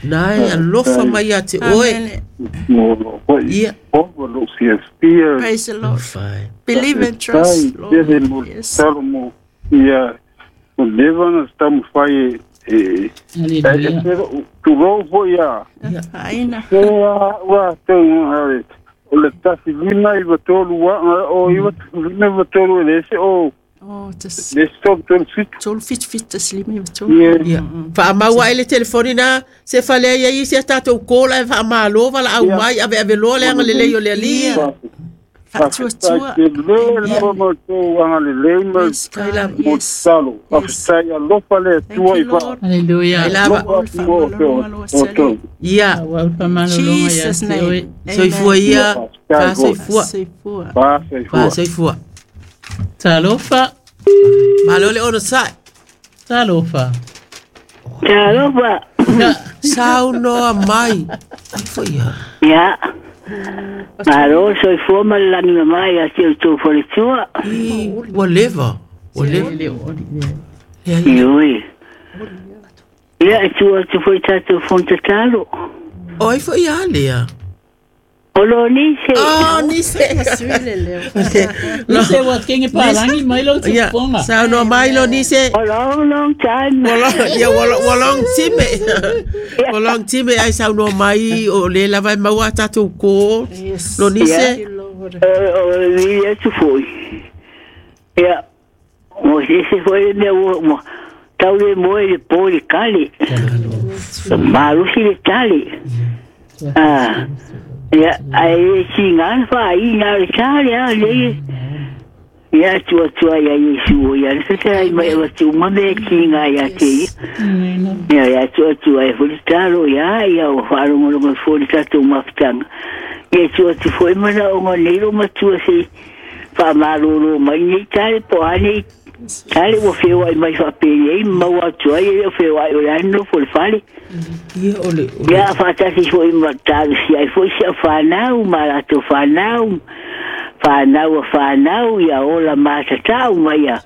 Speaker 3: Nai alofa mai ia te oe. Ia.
Speaker 2: Praise the Lord. Believe and trust, Lord. Yes.
Speaker 6: Ia, o leva na taumafai e e tulou foi ia.
Speaker 2: Aina.
Speaker 6: Ua tau o le tasi lima iwa tolu o iwa lima iwa tolu e lese o
Speaker 2: Oh, tas
Speaker 6: le stop tolu fitu.
Speaker 2: Tolu fitu fitu tas lima iwa tolu.
Speaker 3: Ia. Faamaua ai le telefoni na se falea ia i se tatou kola e faamalo vala au mai ave ave loa le agalelei o le Alii.
Speaker 2: Faatuatua.
Speaker 6: Te le lava ma tou agalelei ma mo tatalo. Faafetai alofa le Atua i fa.
Speaker 1: Hallelujah.
Speaker 3: Ai lava. Ia.
Speaker 2: Jesus name.
Speaker 3: Soifua ia. Faasoifua.
Speaker 2: Soifua.
Speaker 3: Faasoifua.
Speaker 1: Talofa.
Speaker 3: Malo le ono sai.
Speaker 1: Talofa.
Speaker 7: Talofa.
Speaker 3: Saunoa mai. Ai foi ia.
Speaker 7: Ia. Malo soifua ma le lagi mai a te outou faletua.
Speaker 3: I ua leva. Ua leva.
Speaker 7: Ioi. Ia e tua atu foi tatou fonotatalo.
Speaker 3: O ai foi ia lea.
Speaker 7: O lo nise.
Speaker 3: Oh, nise.
Speaker 1: Nise wa kenge palangi mai lo tuponga.
Speaker 3: Saunoa mai lo nise.
Speaker 7: O long long time.
Speaker 3: Ia ua long time. Ua long time ai saunoa mai o le lava e maua tatou ko. Lo nise.
Speaker 7: O le atu foi. Ia. Mo se foi le mea ua tau le moe le po le kale. Malusi le tale. Ah. Ia, ai singa fa i na le tale a le. Ia tua tua ia Yesu ia le te ai mai o tu ma me kinga ia te. Ia ia tua tua e fuli talo ia ia o farongo lo fuli tatu mafutanga. Ia tua tu foi mana o ngone ma tua se fa malolo mai ni tale po ani tale o fewa mai fa pe mau atu ai o fewa o la no fuli fale.
Speaker 3: Ia o le
Speaker 7: ia faatasi foi ma talosi ai foi se whanau ma latou whanau whanau a whanau ia ola matatau mai ia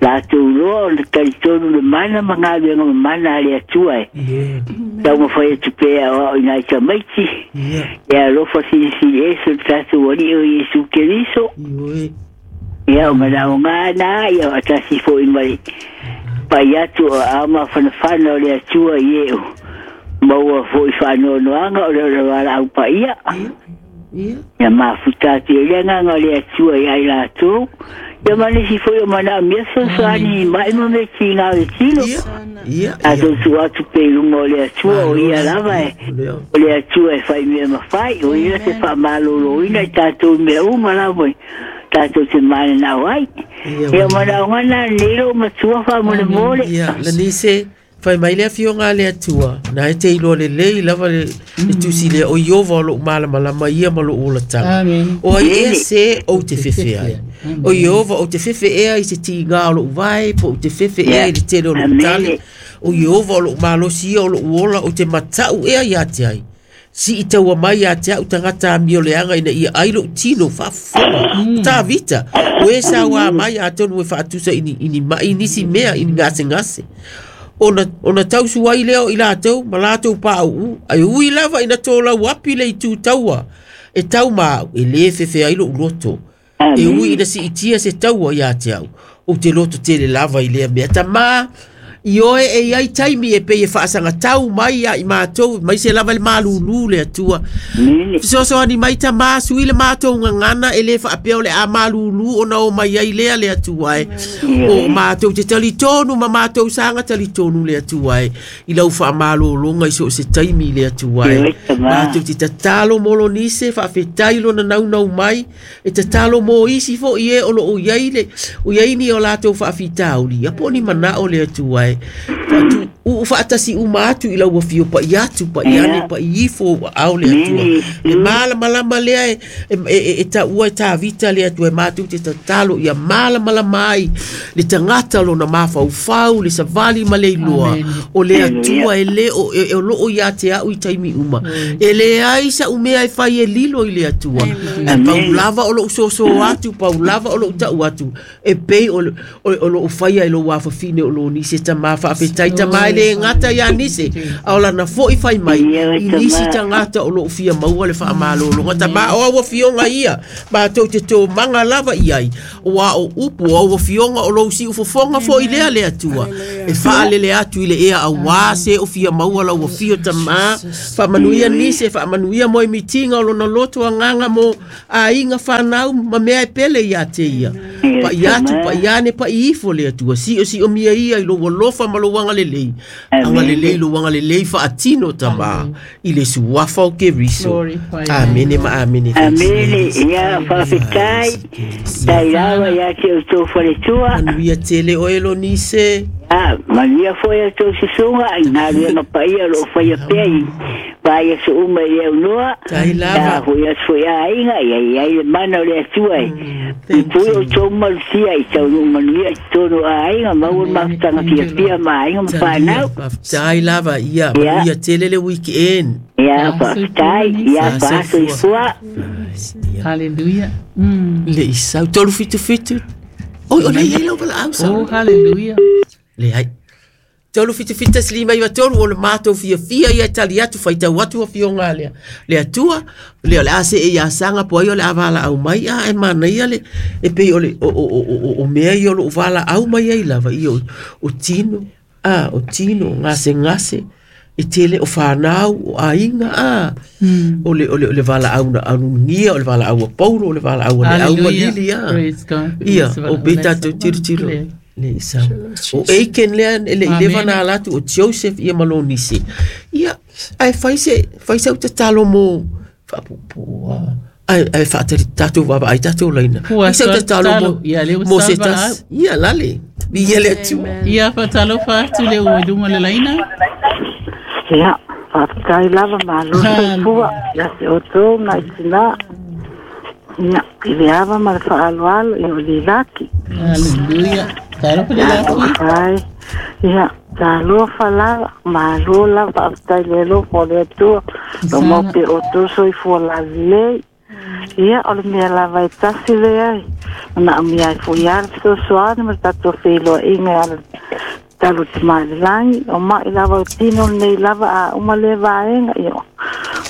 Speaker 7: latou loa o le talitonu le mana ma galuega mamana a le Atua e taumafai atu pea o ao i nai tamaiti ia alofa silisili ese o le tatou Alii o Iesu Keriso ia o manaoga na ia faatasi foi ma le pai atu o ao mafanafana o le Atua i e o maua foi whaanoanoanga o le wala au paia. Ia mafuta atu e le nganga o le Atua i ai latou. Ia manisi foi o mana mea sosoani mai ma me ki ngā le tilo. Atou tu atu pe lunga o le Atua o ia lava e. O le Atua e whai mea mawhai. O ia te whamaloloina i tātou mea uma lava e. Tātou te mana nau ai. Ia mana o ngana nero matua whamole mole.
Speaker 3: Ia, Lanise. Fai mai le afioga a le Atua na e te iloa lelei lava le tusi lea o Iova o lou malamalama ia ma lou olataga. O ai ea se ou te fefe ai. O Iova ou te fefe ea i se tiga o lou vae po ou te fefe ea i le tele o lou tale. O Iova o lou malosi ia o lou ola ou te matau ea ia te ai. Si i taua mai ia te au tagata amio leaga ina ia ai lou tino faafofoga. Tavita o e sauā mai atonu e faatusa i ni mai nisi mea i ni gasegase. Ona ona tausu ai lea o i latou ma latou pauu ai ui lava ina tōlau api le itu taua e tau ma au e lē fefe ai lou loto e ui ina siitia se taua ia te au ou te loto tele lava i lea mea tamā i oe e iai taimi e pei e faasagatau mai ia i matou mai se lava le malūlū le Atua fesoasoani mai tamā sui le matou gagana e lē faapea o le a malūlū ona o mai ai lea le Atua e o matou te talitonu ma matou saga talitonu le Atua e i lau faamalōloga i so o se taimi le Atua e matou te tatalo mo lonise faafetai lona naunau mai e tatalo mo isi foʻi e o loo iai le o iai ni o latou faafitauli ia po o ni manao le Atua e Faatu uu faatasi uma atu i lau afio pa'i atu pa'i ane pa'i ifo ua ao le Atua. Le malamalama lea e e e taua e Tavita le Atua e matou te tatalo ia malamalama ai le tagata lona mafaufau le savali ma le iloa o le Atua e le o e o loo ia te au i taimi uma. E leai sa'u mea e fai e lilo i le Atua. Ae pau lava o lou soso atu, pau lava o lou ta'u atu e pei o o loo faia i lou afafine o lo nisi tamā faafetai tamā e le gata iā nisi a o lana fo'i fai mai i nisi tagata o loo fia maua le faamalologa tamā o au afioga ia matou te tomaga lava i ai ua o upu o au afioga o lou siufofoga fo'i lea le Atua e faalele atu i le ea auā se o fia maua lau afio tamā faamanuia nisi faamanuia mo mitiga o lona loto agaga mo aiga fanau ma mea e pele iā te ia pa'i atu pa'i ane pa'i ifo le Atua si'osi'o mia ia i lou alofa ma lou agalelei agalelei lou agalelei faatino tamā i le suafa o Keriso. Amene ma amene.
Speaker 7: Amene. Ia faafetai tai lava ia te outou faletua.
Speaker 3: Manuia tele oe lo nise.
Speaker 7: Ah, manuia foi a tou susuga i galuega paia o loo faia pea i paia so uma i le aunoa.
Speaker 3: Tai lava.
Speaker 7: Ia foi aso foi aiga ia i ai le mana o le Atua e pui outou malutia i taunuu manuia i totonu o aiga maua le mafutaga fiafia ma aiga ma fanau.
Speaker 3: Faafetai lava ia manuia tele le weekend.
Speaker 7: Ia faafetai ia faasoifua.
Speaker 1: Hallelujah.
Speaker 3: Le isau tolu fitu fitu. Oi o le iai lau valaau sa.
Speaker 1: Oh, hallelujah.
Speaker 3: Le ai. Tolu fitu fitu tasi lima iva tolu o le matou fiafia ia e tali atu faitau atu afioga lea. Le Atua le o le a see ia saga po ai o le a valaau mai a e manaia le e pei o le o o o o mea ia o loo valaau mai ai lava ia o tino a o tino gasegase e tele o fanau o aiga a o le o le o le valaau na alugia o le valaau a Paulo o le valaau a le au malili a ia o pe tatou tilotilo le isau o Aiken lea le i leva na ala atu o Joseph ia ma lonisi ia ae fai se fai sau tatalo mo faapuupuu a ae ae faatali tatou vaavaai tatou laina fai sau tatalo mo mo se tasi ia lale ia le Atua
Speaker 1: ia faatalofa atu le ua i luga le laina.
Speaker 8: Ia, faafetai lava malo soifua ia te outou ma i tinā. Ia, i le ava ma le faaaloalo ia o lilaki.
Speaker 1: Hallelujah. Talofa le laki.
Speaker 8: Faafetai. Ia, talofa lava, malo lava, faafetai le alofa o le Atua. Lo mau pe outou soifua lalelei. Ia, o le mea lava e tasi leai. Manaomia ai foi lava le fesoasoani ma le tatou feiloaiga e ala talo te mai le lagi o mai lava o tino nei lava a uma le vaega ia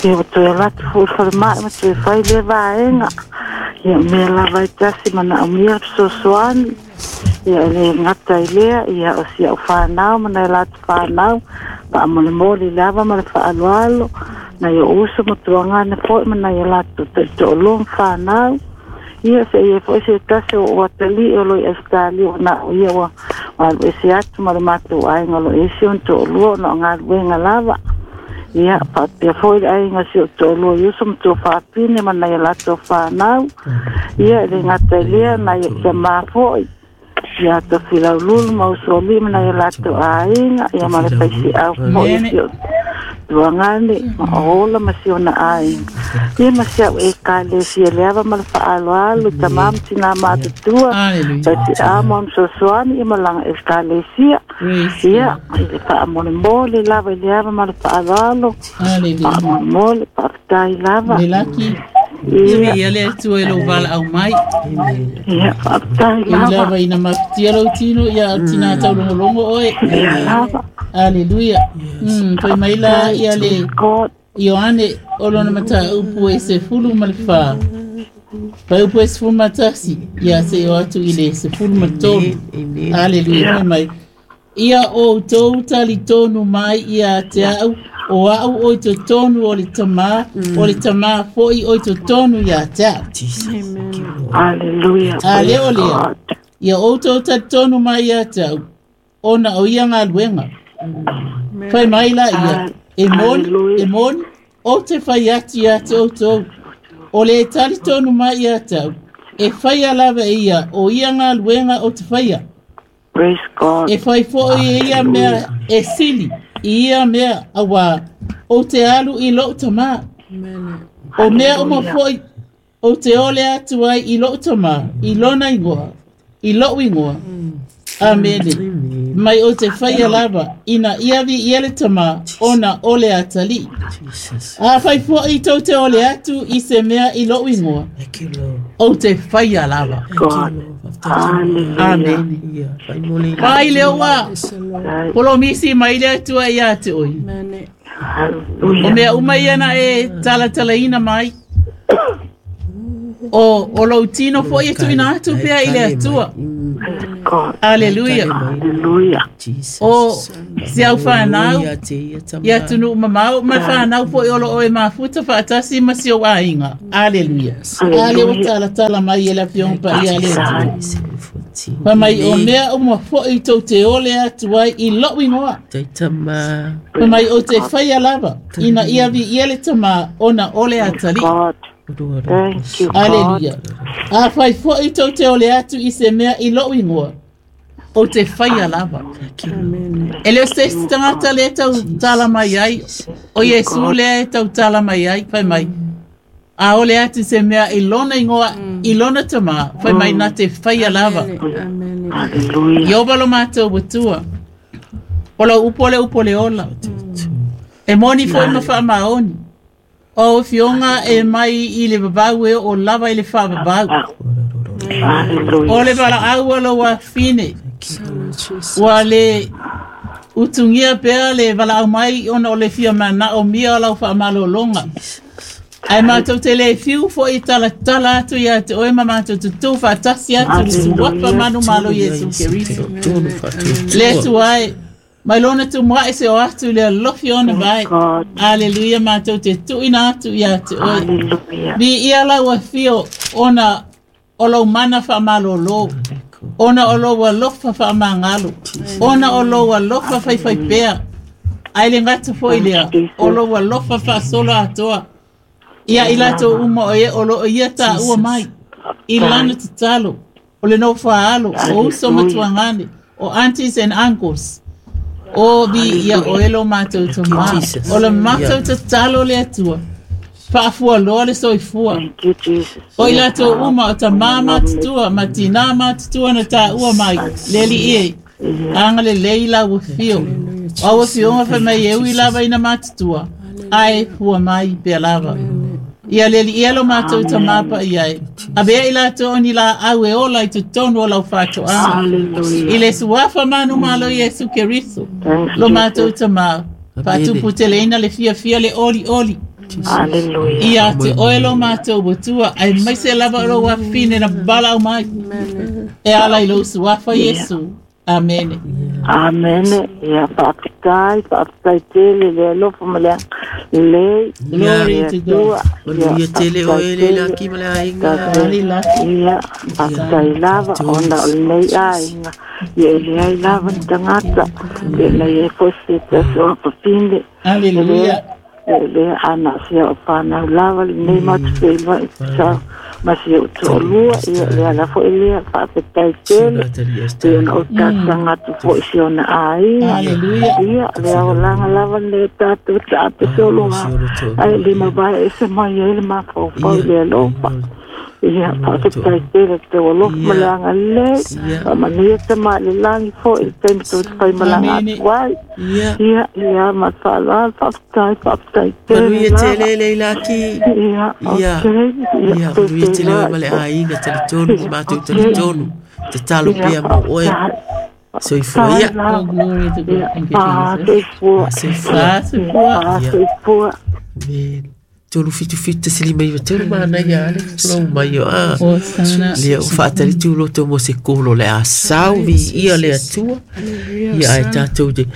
Speaker 8: ia o toe alu atu foi i le falemai ma toe fai le vaega ia o mea lava e tasi manaomia le fesoasoani ia e le gata i lea ia o si au fanau ma nai latou fanau faamolemole lava ma le faaaloalo nai o uso ma tuagane foi ma nai o latou toʻitoʻoloa ma fanau ia se ia foi se tasi o o atali o lo i Australia o na o ia ua alu ese atu ma le matou aiga o lo ese ona toʻalua ona o galuega lava ia faapea foi le aiga si o toʻalua i uso ma tuafafine ma nai o latou fanau ia e le gata i lea nai o tamā foi ia Tofilaululu ma usoalii ma nai o latou aiga ia ma le faisiau foi si o tuagane ma o ola ma si ona aiga ia ma si au ekalesia le ava ma le faaaloalo tamā ma tinā matutua faisiau ma ona fesoasoani ia ma laga ekalesia ia i le faamolemole lava i le ava ma le faaaloalo faamolemole faafetai lava.
Speaker 1: Lelaki. Ia ia le Atua e lou valaau mai.
Speaker 8: Ia faafetai
Speaker 1: Ui
Speaker 8: lava.
Speaker 1: lava ina mafutia lou tino ia tinā taulogologo oe.
Speaker 8: Ia lava.
Speaker 1: Hallelujah. Mm, fai mai la ia le
Speaker 8: God.
Speaker 1: Ioane o lona mataupu e sefulu ma le fā. Faiupu e sefulu ma tasi ia seʻi o atu i le sefulu ma tolu. Hallelujah. Fai mai ia outou talitonu mai ia te au o au o i totonu o le tamā o le tamā fo'i o i totonu ia te au.
Speaker 8: Hallelujah.
Speaker 1: A lea o
Speaker 8: Praise
Speaker 1: lea
Speaker 8: God.
Speaker 1: ia outou talitonu mai ia te au ona o ia galuega. Fai mai la ia e moni e
Speaker 8: Hallelujah.
Speaker 1: moni o te fai atu ia te outou o le talitonu mai ia te au e faia lava e ia o ia galuega o te faia
Speaker 8: Praise God.
Speaker 1: E fai foʻi e ia mea e sili i ia mea auā ou te alu i loʻu tamā. O mea uma foʻi ou te ole atu ai i loʻu tamā i lona igoa, i loʻu igoa. Amene. Mai o te faia lava ina ia viia le tamā ona o le atalii. A fai foʻi tou te ole atu i se mea i loʻu igoa, ou te faia lava.
Speaker 8: God. Hallelujah.
Speaker 1: Amene. Pai le ua polomisi mai le Atua ia te oe. O mea uma ia na e talatalaina mai. O, o lou tino foʻi e tuuina atu pea i le Atua.
Speaker 8: God.
Speaker 1: Aleluia.
Speaker 8: Hallelujah.
Speaker 1: O se au whanau ia tunu mamau ma whanau foʻi o loo e mafuta faatasi ma si ou aiga. Aleluia. Ale ua talatala mai e le afioga paia a le Atua. Fai mai o mea uma foʻi tou te ole atu ai i loʻu igoa. Fai mai o te faia lava ina ia viia le tamā ona o le atalii.
Speaker 8: God. Thank you, God.
Speaker 1: Aleluia. A fai foʻi tou te ole atu i se mea i loʻu igoa, o te faia lava. E le o se isi tagata le tau tala mai ai, o Iesu lea e tau tala mai ai, fai mai. A ole atu se mea i lona igoa, i lona tamā, fai mai na te faia lava.
Speaker 8: Hallelujah.
Speaker 1: Ioba lo mātou atua. O lau upu le upu le ola. E moni foʻi ma faamaoni. O fioga e mai i le vavau e o lava i le faavavau.
Speaker 8: Hallelujah.
Speaker 1: O le valaau a lou afine. Ua le utugia pea le valaau mai ona o le fia manao mia o lau faamalologa. Ae matou te le fiu foʻi talatala atu ia te oe ma matou tutū faatasi atu le suafa manumalo Iesu Keriso. Le Atua e mai lona tumuaʻi se o atu le alofi ona vae.
Speaker 8: God.
Speaker 1: Aleluia matou te tuuina atu ia te oe.
Speaker 8: Hallelujah.
Speaker 1: Viia lau afio ona o lou mana faamalōlō, ona o lou alofa faamagalo, ona o lou alofa faifaipea. Ae le gata foʻi lea, o lou alofa faasolo atoa. Ia i latou uma o e o loo ia taua mai, i lana tatalo, o le nofoaalo, o uso ma tuagane, o aunties and uncles. O viia oe lo matou tamā. O le matou tatalo le Atua. Faafualoa le soifua.
Speaker 8: Thank you, Jesus.
Speaker 1: O i latou uma o tamā matutua, ma tinā matutua na taua mai, le alii e. Agalelei lau afio. O au afioga fai mai e ui lava ina matutua, ae fua mai pea lava. Ia le alii e lo matou tamā paia e. Avea i latou o ni laau e ola i totonu o lau faatoaga.
Speaker 8: Hallelujah.
Speaker 1: I le suafa manumalo Iesu Keriso.
Speaker 8: Thanks,
Speaker 1: Lo matou
Speaker 8: Jesus.
Speaker 1: tamā. Faatuputeleina le fiafia le olioli.
Speaker 8: Hallelujah.
Speaker 1: Ia te oe lo matou atua, ae maise lava o lou afine na valaau mai. E ala i lou suafa Iesu. Amene.
Speaker 8: Amene. Ia faafetai, faafetai tele le alofa ma le lelei.
Speaker 1: Glory to God.
Speaker 3: Manuia tele oe le laki ma le aiga.
Speaker 8: Ia, faafetai lava ona o lenei aiga. Ia e leai lava ni tagata. Ia na ia foi se tasi o papine.
Speaker 1: Hallelujah.
Speaker 8: Ia lea ana sia o whanau lava lenei matu whenua i sa ma sia o to'olua. Ia lea la foʻi lea faafetai tele. Ia ona o talosaga atu foʻi si ona aiga.
Speaker 1: Hallelujah.
Speaker 8: Ia lea olaga lava le tatou taapesologa. Ae lima vae ese mai ai le mafaufau i le alofa. Ia faafetai tele tau alofa ma le agalelei. Faamanuia tamā i le lagi foʻi le taimi tou te faimalaga atu ai. Ia, ia ma le faaaloalo faafetai, faafetai tele
Speaker 3: Manuia
Speaker 8: lava.
Speaker 3: tele le laki.
Speaker 8: Ia,
Speaker 3: Ia.
Speaker 8: okay.
Speaker 3: Ia,
Speaker 8: Ia,
Speaker 3: manuia tele oe
Speaker 8: tele
Speaker 3: ma le aiga talitonu, ma matou talitonu. Tatalo pea mo oe. Soifua ia.
Speaker 1: Oh, glory to God. Thank you, Jesus.
Speaker 8: Soifua.
Speaker 3: Soifua.
Speaker 1: Soifua.
Speaker 8: Soifua.
Speaker 3: Amen. Tolu fitu fitu tasi lima iva tolu mana ia ale tulau mai o a.
Speaker 1: Hosana.
Speaker 3: Lea o faatali loto mo se kolo le a sau vi ia le atua. Ia ai tātou te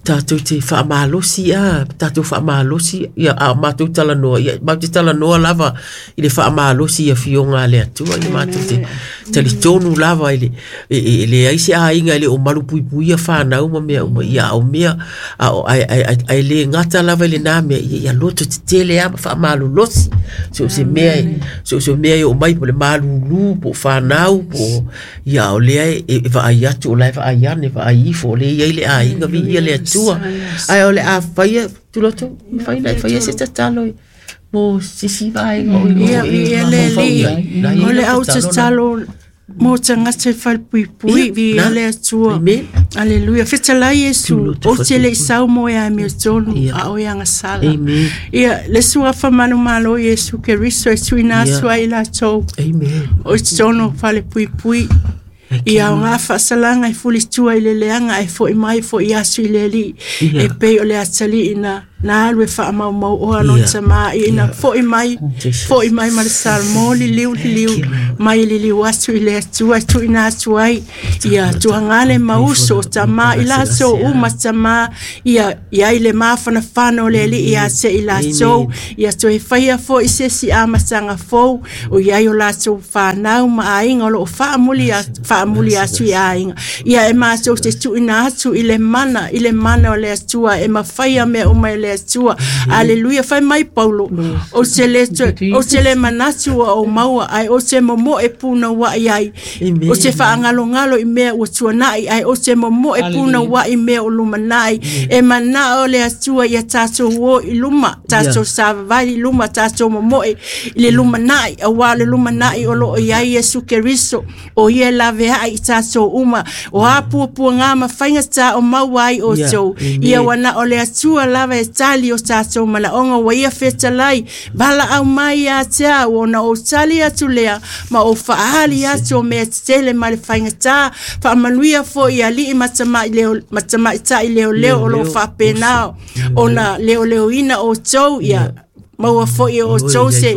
Speaker 3: Tātou te whaamalosi a, tātou whaamalosi ia a mātou talanoa ia mātou te talanoa lava i le whaamalosi ia fionga le atua ia mātou te talitonu lava i le e, e, e le ai se aiga i le o malu puipui ia whanau ma mea uma ia au mea a, ai, ai, ai, ai le ngata lava i le nā mea ia, ia loto te tele a ma whaamalolosi so se mea so se mea i o mai po le malulu po whanau po ia o lea e, e vaai atu o lai vaai ane vaai ifo o le ia i le aiga vi ia le atua ai o le a faia tuloto faia faia se tatalo mo sisi vai o
Speaker 2: ia ia le li o le au tatalo mo tangata whalpuipui vi le atua. Aleluia. Fetalai Iesu o te le sau mo ia me tonu a o ia ngasala. Ia le sua famanu malo Iesu Kristo e tuina sua ila tou.
Speaker 3: Amen.
Speaker 2: O tonu whalepuipui. Ia o ngā whaasalanga i fulitua i le leanga e fo i mai fo i asu i le li. E pei o le atali ina nā alwe wha mau mau oa no tama i ina fo i mai fo i mai ma le salmo li liu li liu mai li liu atu i le atua tu ina atu ai ia tuangale mauso tama i laso uma tama ia ia i le mawhana whano le li ia te i laso ia to e whaia fo i sesi a matanga fo o ia i o laso whanau ma ainga o lo whaamuli a whaamuli atu i ainga ia e mātou te tu ina atu i le mana i le mana o le atua e mawhaia mea uma i le atua. Aleluia. Whai mai Paulo o te le o te le manatu o maua ai o te momo e puna wa i ai o te whaangalongalo i mea ua tuanai ai o te momo e puna wa i mea o lumanai e mana o le atua ia tātou o i luma tātou savavai i luma tātou momo e le lumanai awa le lumanai o lo i ai Yesu Kristo o ia lave ai tātou uma o apuapua ngā mawhainga tā o maua ai o tau ia wana o le atua lava e tali o tātou malaonga wa ia fetalai vala au mai a te au ona o tali atu lea ma o faali atu o mea tetele ma le faingatā faamanuia foi alii matamai leo matamaita'i leoleo o loo faapenao ona leoleoina outou ia maua foi o outou se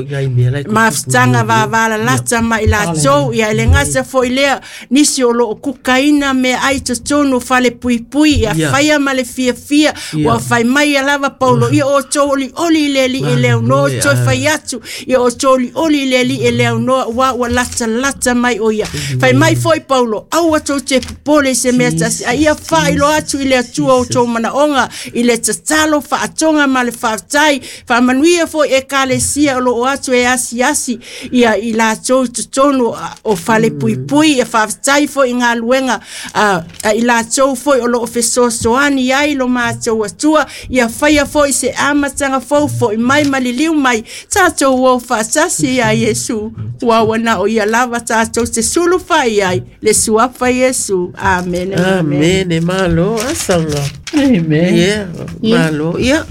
Speaker 2: mafutaga vavalalata ma i latou ia e le gasa foi lea nisi o loo kukaina meaai totonu falepuipui ia faia ma le fiafia ua fai mai ia lava Paulo ia outou olioli i le alii e le aunoa outou fai atu ia outou olioli i le alii e le aunoa ua ua latalata mai o ia fai mai foi Paulo aua tou te popole i se mea tasi a ia faailoa atu i le Atua outou manaoga i le tatalo faatoga ma le faafetai faamanuia foi e kalesia o loo atu e asiasi ia i latou totonu o falepuipui e faafetai foi i galuega a i latou foi o loo fesoasoani ai lo matou Atua ia faia foi se amataga fou foi mai ma liliu mai tatou o faatasi ia Iesu ua ua o ia lava tatou te sulu fai ai le suafa Iesu. Amen.
Speaker 3: Amen. Malo asanga.
Speaker 1: Amen.
Speaker 3: Yeah, malo. Yeah.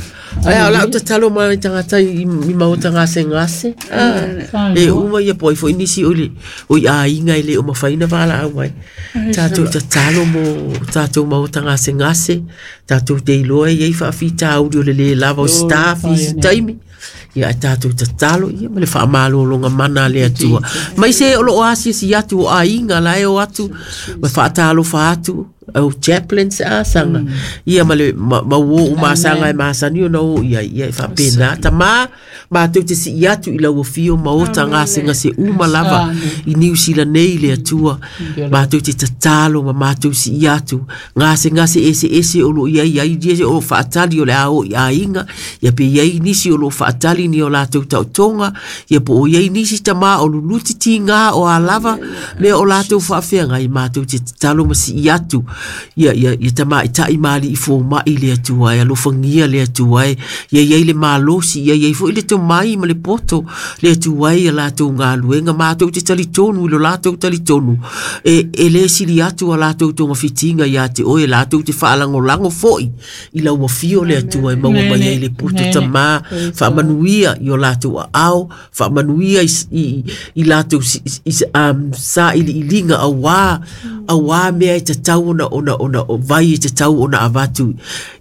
Speaker 3: Ai ala o tatalo mai tangata i maota ngase ngase. E uma ia poi foi nisi o le o i aiga i le o mafaina vala au mai. Tātou tatalo mo tātou maota ngase ngase. Tātou te iloa ia i whaafita auri o le le lava o staff i si taimi. Ia tātou tatalo ia ma le whaamalolonga mana le atua. Mai se o lo o asia si atu o aiga la e o atu ma whaatalo whaatu au chaplains a sanga ia ma le ma wo o masanga e masani ona o ia ia e whapena tama mātou te si atu i lau fio maota ngase ngase uma lava i New Zealand nei le atua mātou te tatalo ma mātou si atu ngase ngase ese ese o lo ia ia ia o whaatali o le ao i ainga ia pe ia i nisi o lo whaatali ni o lātou tautonga ia po o ia i nisi tama o luluti tinga o a lava me o lātou whaafeanga i mātou te tatalo ma si atu ia ia ia tama i tai mali i fo mai le atua e alofangia le atua e ia ia i le malosi ia ia i fo i le tomai ma le poto le atua ia lātou ngāluenga mātou te talitonu i lo lātou talitonu e, e le sili atu a lātou tonga fitinga ia te oe lātou te whaalangolango foi i lau wafio le atua e maua mai ai le poto tama whaamanuia i o lātou a ao whaamanuia i, i, i lātou si, i, um, sa ili ilinga awā awā mea e tatau ona ona ona ona o vai i te tau ona avatu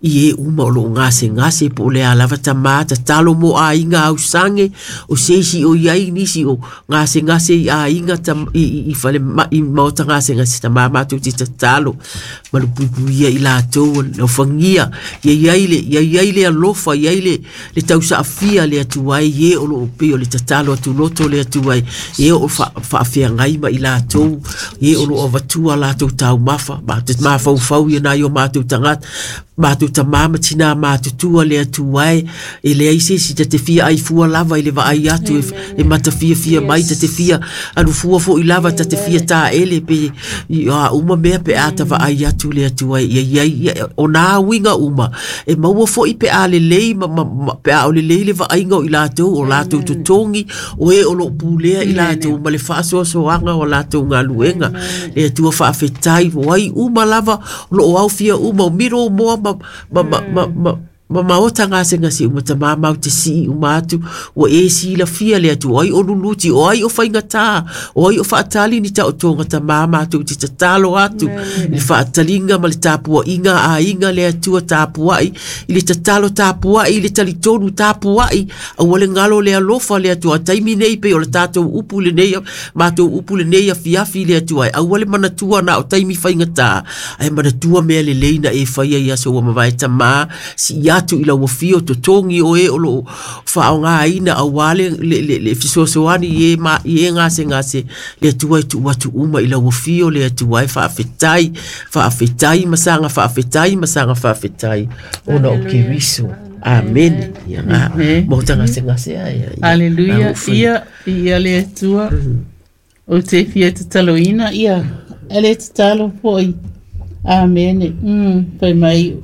Speaker 3: i e uma o loo gasegase po o le a lava tamā tatalo mo aiga ausaga o se isi o iai nisi o gasegase i aiga tam, i, i, i fale ma, i maota gasegase tamā matou te tatalo malupuipuia i latou laufagia ia iai le ia iai le alofa ia iai le le tausaafia le Atua ai e o loo pei o le tatalo atu loto le Atua ai e o faafeagai ma i latou e o loo avatua latou taumafa ma te mafaufau ia nai o matou tagata matou tamā ma tinā matutua le Atua ai e leai se isi ta te fia aifua lava i le vaai atu e, e matafiafia mai ta te fia alufua foʻi lava ta te fia taele pe i a uma mea pe a ta vaai atu le Atua ai ia iai ia o nā uiga uma e maua foʻi pe a lelei ma, ma, ma, pe a o lelei le vaaiga o i latou o latou totogi o e o loo pulea i latou ma le faasoasoaga o latou galuega le Atua faafetai o ai uma lava o loo aofia uma o miro moa ma ma ma ma ma ma maota gasegase uma tamā mau te sii uma atu ua e silafia le Atua o ai o luluti o ai o faigatā o ai o faatali ni taotoga tamā matou te tatalo atu i le faataliga ma le tapuaiga aiga le Atua tapuai i le tatalo tapuai i le talitonu tapuai aua le galo le alofa le Atua taimi nei pei o le tatou upu lenei matou upu lenei afiafi le Atua aua le manatua na o taimi faigatā ae manatua mea lelei na e faia i aso ua mavae tamā sii atu i lau afio totogi o e o loo faaaogāina auā le, le, le, le fesoasoani i e, ma, i e gasegase le Atua e tuu atu uma i lau afio le Atua e faafetai faafetai ma saga faafetai ma saga faafetai ona o Keriso. Amen. Ia ngā mo tagasegase ai.
Speaker 1: Aleluia. Ia ia le Atua o te fia tataloina ia e le tatalo foʻi. Amene. Mm, fai mai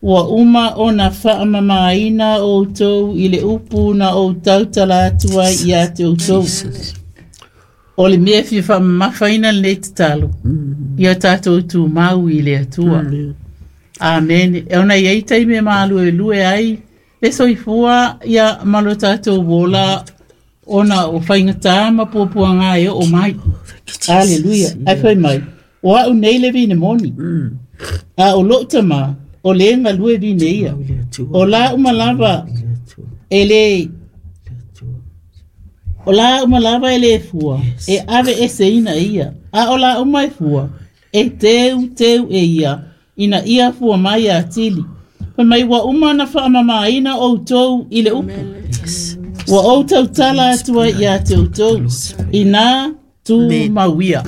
Speaker 1: ua uma ona faamamaina outou i le upu na ou tautala atu ai ia te outou. O le mea fia faamamafaina lenei tatalo ia tatou tumau i le Atua. Amene. E ona iai taimi e maluelue ai le soifua ia ma lo tatou ola ona o faigatā ma puapuaga e oo mai. Aleluia. Ae fai mai o a'u nei le vine moni a o loo tamā o le galue vine ia o la uma lava e le o la uma lava e le fua e ave eseina e ia a o la uma e fua e teu teu e ia ina ia fua mai atili. Fai mai ua uma na faamamaina outou i le upu ua ou tautala atu ai ia te outou ina tumauia.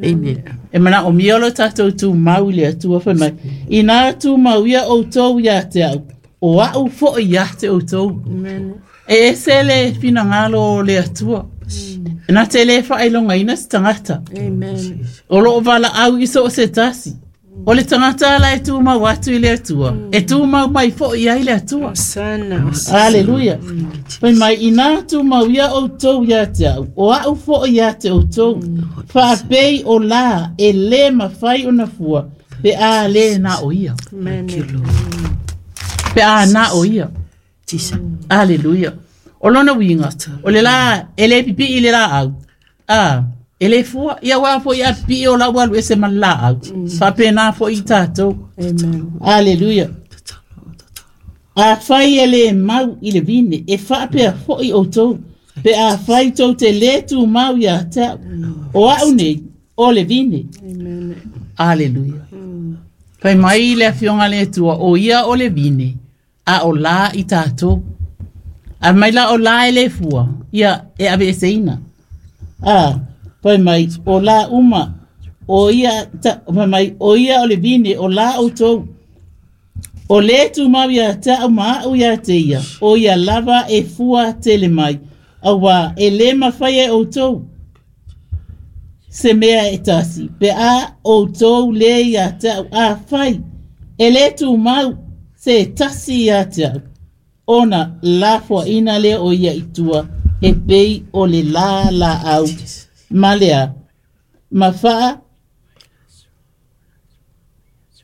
Speaker 3: Amen.
Speaker 1: E mana o mia lo tatou tumau i le Atua. Fai mai ina tumauia outou ia te au o a'u foʻi ia te outou. E ese le finagalo o le Atua na te lē faailogaina se tagata o loo valaau i so o se tasi o le tagata ala e tumau atu i le Atua e tumau mai foʻi ai le Atua. Aleluia. Fai mai ina tumauia outou ia te au o a'u foʻi ia te outou faapei o lā e lē mafai ona fua pe a lē na o ia pe a na o ia. Aleluia. O lona uiga o le lā e lē pipii i le laau a e lē fua ia uā foʻi a pipii o lau alu ese ma le laau faapena foʻi i tatou. Aleluia. Afai e lē mau i le vine e faapea foʻi outou pe afai tou te lē tumau iā te a'u o a'u nei o le vine. Aleluia. Fai mai le afioga le Atua o ia o le vine a o lā i tatou a mai la o lā e lē fua ia e aveeseina a fai mai o lā uma o ia ta, fai mai o ia o le vine o lā outou o lē tumau ia te a'u ma a'u ia te ia o ia lava e fua tele mai auā e lē mafai e outou se mea e tasi pe a outou lē ia te a'u afai e lē tumau se tasi ia te a'u ona lafoaina lea o ia i tua e pei o le lā laau ma lea ma faa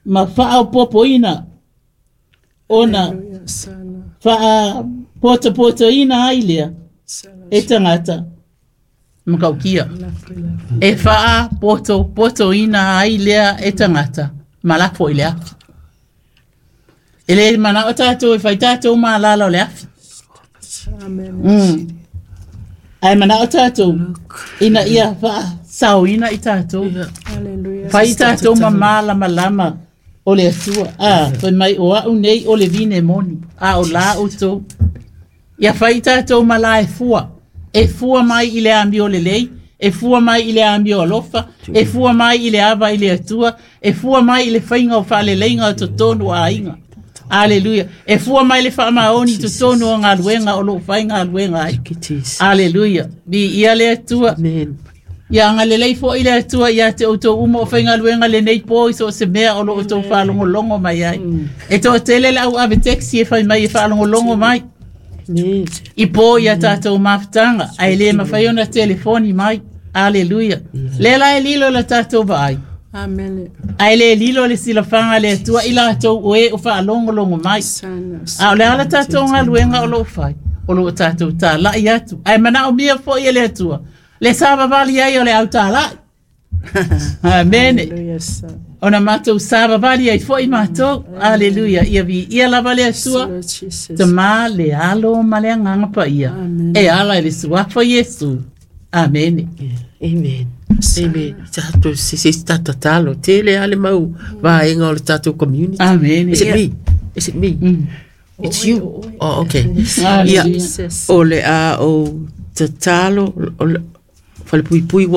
Speaker 1: ma faaopopoina ona faapotopotoina ai lea e tagata Makaukia. E faa poto poto ina ai lea e tangata ma lafo i le afi. E le mana o tātou e whai tātou malala o le afi.
Speaker 2: Amen.
Speaker 1: Mm. Ai mana o tātou ina ia faa sao ina i tātou.
Speaker 2: Hallelujah.
Speaker 1: Fai tātou ma malama lama o le atua. Ah, fai mai o au nei o le vine moni. A o la o tō. Ia fai tātou ma la e fua. E fua mai i le amio le lei. E fua mai i le amio alofa. E fua mai i le ava i le atua. E fua mai i le whainga o whaaleleiga o totonu a inga. Aleluia. E fua mai le whaamaoni totonu o ngā luenga o lo whainga luenga ai. Aleluia. Bi ia le atua.
Speaker 3: Amen.
Speaker 1: Ia nga le lei fo i le atua ia te outou uma o whainga luenga le nei po i so se mea o lo outou whaalongolongo mai ai. E tō tele lau ave teksi e whai mai e whaalongolongo mai.
Speaker 3: Amen.
Speaker 1: I po ia tātou mafutanga, ai le mawhai ona telefoni mai. Aleluia. Le la e lilo la tātou vaai.
Speaker 2: Amen.
Speaker 1: Ai le lilo le silafanga le atua i lātou o e o whaalongolongo mai.
Speaker 2: Sana.
Speaker 1: A o le ala tātou ngā luenga o lo whai. O lo tātou tā lai atu. Ai mana o mia fo i le atua. Le savavali ai o le au tā lai. Amen.
Speaker 2: Hallelujah. Sir.
Speaker 1: Ona mātou savavali ai fo i mātou. Aleluia. Ia vi ia lava le atua.
Speaker 2: Lord Jesus.
Speaker 1: Te mā le alo ma le anganga pa ia.
Speaker 2: Amen.
Speaker 1: E ala i le suafa Iesu. Amen.
Speaker 3: Amen. Amen. Tātou se se tata talo tele ale mau vaenga o le tātou community.
Speaker 1: Amen.
Speaker 3: Is it me? Is it me?
Speaker 1: Mm.
Speaker 3: It's you. Oh, okay.
Speaker 1: Hallelujah.
Speaker 3: Ia, o le a o tatalo o le whalepui pui wa